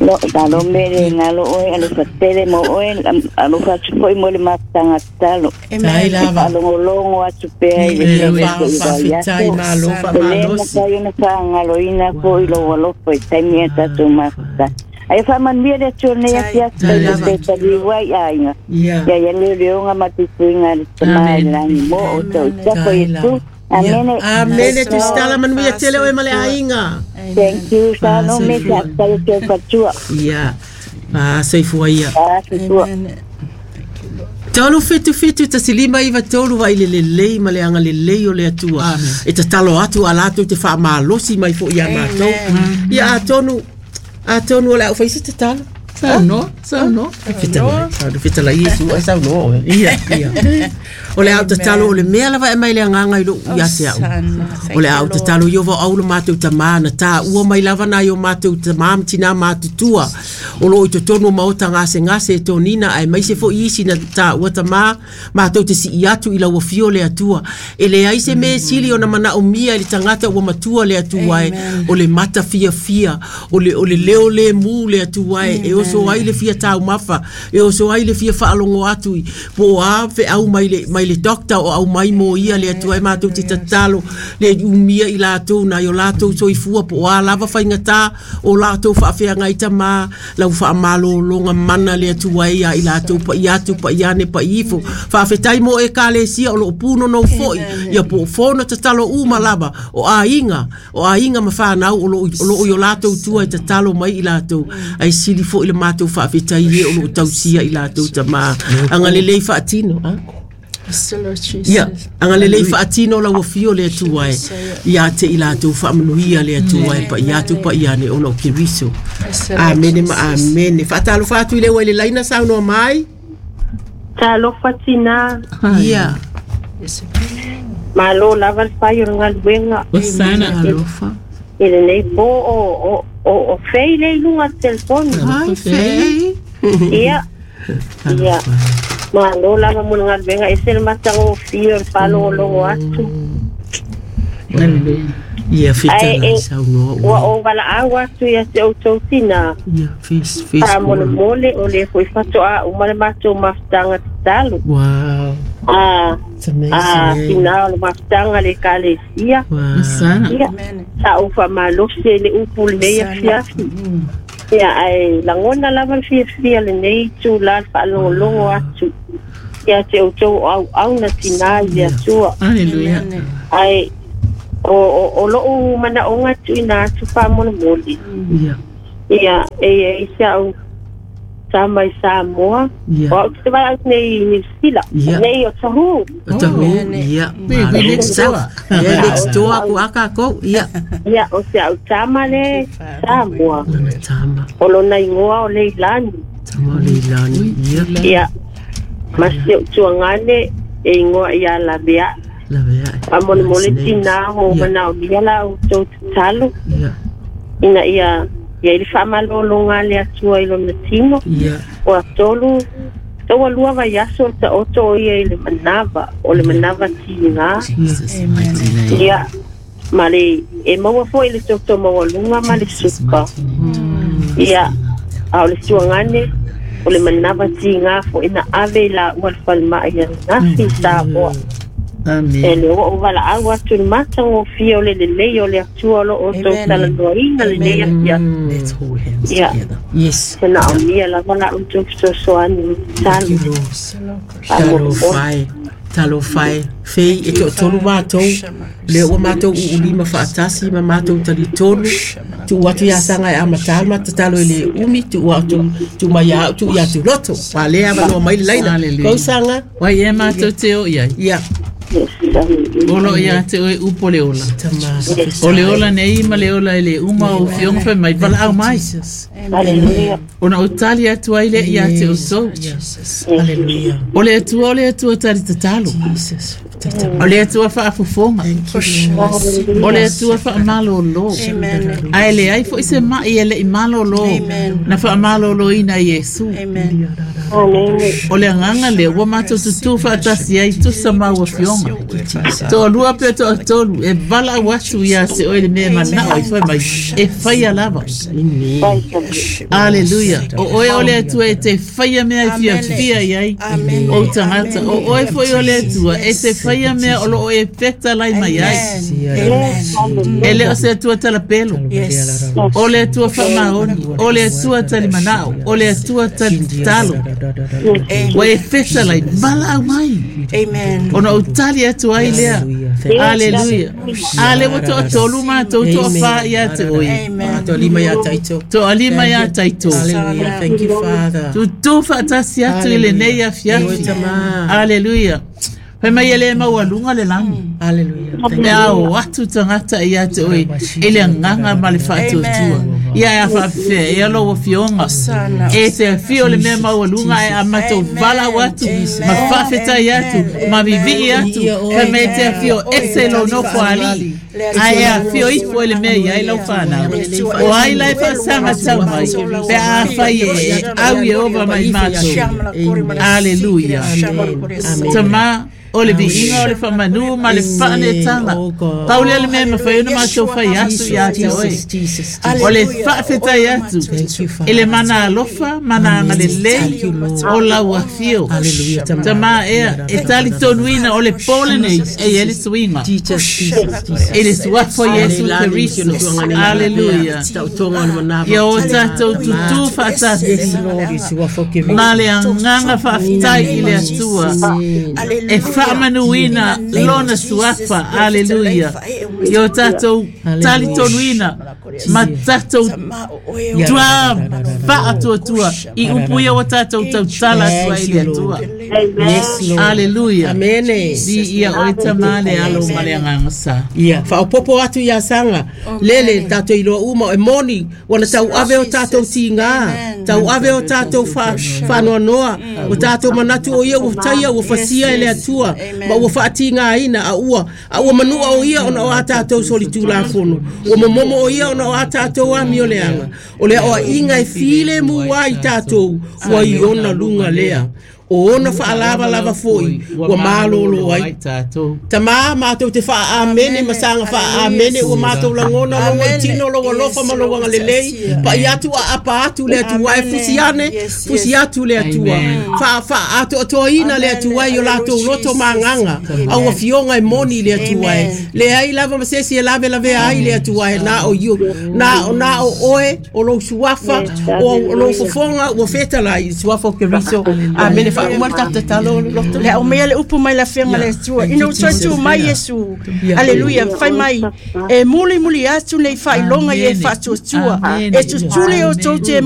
lo Salome le galo oe alofa tele mo oe alofa atu foi mo le mafutaga tatalo. Tai lava. Faalogologo atu pea i le Faafetai malo e lē faamalosi. mafai ona faagaloina foi lou alofa i taimi e tatou mafuta. Ae faamanuia le Atua lenei afiafi Tai lava. te taliu ai aiga. Ia. Ia ia leoleoga ma tuituiga a le tamā i le lagi mo outou i tafa Tai Iesu. lava. Amene. Amene Tusitala manuia tele oe ma le aiga. Thank you Salome, faafetai atu fatua. Ia. Fasoifua ia. Fasoifua. Tolu fitu fitu tasi lima iva tolu vai le lelei ma le agalelei o le Atua. E tatalo atu a latou te faamalosi mai fo'i ia matou. Ia atonu atonu o le au faisi tatalo. Saunoa, saunoa. Fetalai, saunoa, fetalai Iesu ai saunoa oe. Ia, ia. O le au tatalo o le mea lava e mai le agaga i lou ia te au. O le au tatalo i ova au le matou tamā na tāua mai lava nai o matou tamā ma tinā matutua. O loo i totonu o maota gasegase e tonina ae maise fo'i isi na tāua tamā matou te sii atu i lau afio le Atua. E leai se mea sili ona manaomia i le tagata ua matua le Atua e o le mata fiafia o le, o le leo le mu le Atua e e oso ai le fia taumafa e oso ai le fia faalogo atu i po o a feau mai le, mai le doctor o au mai mo ia le Atua e matou te tatalo le umia i latou nai o latou soifua po o a lava faigatā o latou faafeagai tamā lau faamalōlōga mana le Atua e ia i latou paia atu paia ane paia ifo faafetai mo ekalesia o loo punonou fo'i ia po o fono tatalo uma lava o aiga o aiga ma whanau o loo o loo i o latou tua e tatalo mai i latou ai sili fo'i le matou faafetai e o loo tausia i latou tamā agalelei faatino a Ia, agalelei faatino lau afio le Atua e ia te i latou faamanuia le Atua e paia atu paia ane ona o Keriso. Amene ma amene. Faatalofa atu i le ua i le laina saunoa mai. Talofa tina. Ia. Malo lava le fai o le galuega. Osana. Alofa. I lenei po o o o o fei le i luga o le telefoni. Ai, fei. Ia. Ia. Malo lava mo le galuega e se le matagofie o le faalogologo atu. Ia fitala saunoa ua ou valaau atu ia te outou tina. Ia fis fis faamolemole o le foi fatoa uma le matou mafutaga tatalo. Wow. Ah, ah, tina o le mafutaga le ekalesia. Ia sa ou faamalosi le upu lenei afiafi. Ia ae lagona lava le fiafia lenei itulā le faalogologo atu ia te outou o auauna tinā i le Atua. Aleluia. Ae o o o lou manaoga tuuina atu faamolemole. Ia. Ia e i ai si au tama i Samoa. Ia. O au te valaau nei i Niu Sila. Ia. Nei o Tahu. O Tahu. Ia. We next door. Ia next door aku akako. Ia. Ia o si au tama le Samoa. Lona tama. O lona igoa o Leilani. Tama o Leilani. Ia. Ia. Ma si ou tuagane e igoa ia Lavea. Lavea. Faamolemole tinā o manaomia la outou tatalo. Ia. Ina ia ia i le faamalologa a le Atua i lona tino. Ia. O atolu taua lua vaiaso o taoto o ia i le manava o le manava tigā. Ia. Ia ma le e maua foi le toto maualuga ma le suka. Ia a o le tuagane o le manava tigā foi na ave i laua le falemai ananafi i Samoa. Amen. E le ua ou valaau atu le matagofie o le lelei o le Atua o loo outou talanoaina lenei afiafi. Let's hold hands Ia. together. Yes. Se naomia lava la outou fesoasoani Thank you, tatalo. Lord. Talo talo fai fei e to tolu matou le ua matou uulima faatasi ma matou talitonu tu atu ia sanga e amatā ma tatalo i le umi tu atu tu mai au tu ia tu loto wa le avanoa mai le laina Hallelujah. kou sanga. Wai e mātou te o iai. Ia. Olo ia te oe upo le ola. Tama. O le ola nei ma le ola e le uma o fionga whai mai valaau mai. Hallelujah. Ona o tali atu ai le ia te o sou. Hallelujah. O le atua o le atua tali tatalo. Jesus. O le atua faafofoga. O le atua faamalolo. Ae le ai foi se mai e le i malolo. Na faamaloloina i Iesu. Amen. O le agaga lea ua matou tutū faatasi ai tusa ma ua fioga. Toalua pe toatolu e valaau atu ia te oe le mea manao i fai mai e faia lava. Aleluia. O oe o le Atua e te faia mea e fiafia i ai o tagata. O oe foi o le Atua e te faia mea o loo e fetalai mai ai. E le o se Atua talapelo. Yes. O le Atua faamaoni. O le Atua talimanao. O le Atua talitalo. Ua e fetalai valaau mai. Amen. Ona o tali atu ai lea. Aleluia. Ale ua toatolu matou toafā ia te oe. Amen. Toalima ia taito. Toalima ia taito. Hallelujah. Thank you, Father. Tutū faatasi atu i lenei afiafi. Aleluia. Fai mai e le maualuga le lagi. Hallelujah. Thank Me ao atu tagata ia te oe i le agaga ma le faatuatua. Ia e afaafefea e alo ua fioga. E te afio le mea maualuga e a matou valaau atu ma faafetai atu ma vivii atu. Fai mai e te afio ese lou nofo alii. Ae e afio ifo i le mea i ai lau whanau. O ai lai whaasaga tau mai. Pe a whai e au e ova mai mātou. Aleluia. Tama o le viiga o le faamanu ma le faanetaga. Pau lea le mea e mafai ona matou fai atu ia te oe. Jesus. O le faafetai atu i le mana alofa, mana agalelei o lau afio. Hallelujah. Tama ea, e talitonuina o le pō lenei e i ai le suiga. Jesus, Jesus, Jesus. I le suafa o Iesu Keriso. Aleluia. Tautoga o le manava. Ia o tatou tutū faatasi. Yes, Lord, i suafa o Keriso. Ma le agaga faafetai i le Atua. E faamanuina lona suafa. Aleluia. Ia o tatou talitonuina ma tatou tua faatuatua i upu ia ua tatou tautala atu ai i le Atua. Yes, Lord. Aleluia. Amene. Di ia oe tamā le alo ma le agaga sa. Ia, whaopopo atu ia sanga. Lele, tātou iloa uma, e moni, wana tau ave o tātou tīngā, tau ave o tātou wha, whanoanoa, o tātou manatu o ia ua taia, ua whasia e le atua, ma ua whaatīngā ina, a ua, a ua manua o ia ona o a tātou soli tūlafono, ua momomo o ia ona o a tātou ami o leanga, o lea oa inga e file mua i tātou, ua i ona lunga lea. O ona fa'alavalava fo'i ua malōlō ai tamā matou te fa'aamene ma saga fa'aamene ua matou lagona lou aitino lou alofa ma lou agalelei pa'i atu aapa atu le Atua e fusi ane fusi atu le Atua fa'aatoatoaina le Atua i o latou loto magaga au afioga e moni le Atua e leai lava ma se esi e lavelavea ai le Atua e na o iu na o na o oe o lou suafa o lou fofoga ua fetalai i suafa o Keriso. Amene. Fa'auma le tatou tatalo loto le au mea le upu mai la fenga le Atua ina ua toe tu mai Iesu. Aleluia. Fai mai e muli muli atu nei faailoga i e faatuatua e tutuli outou te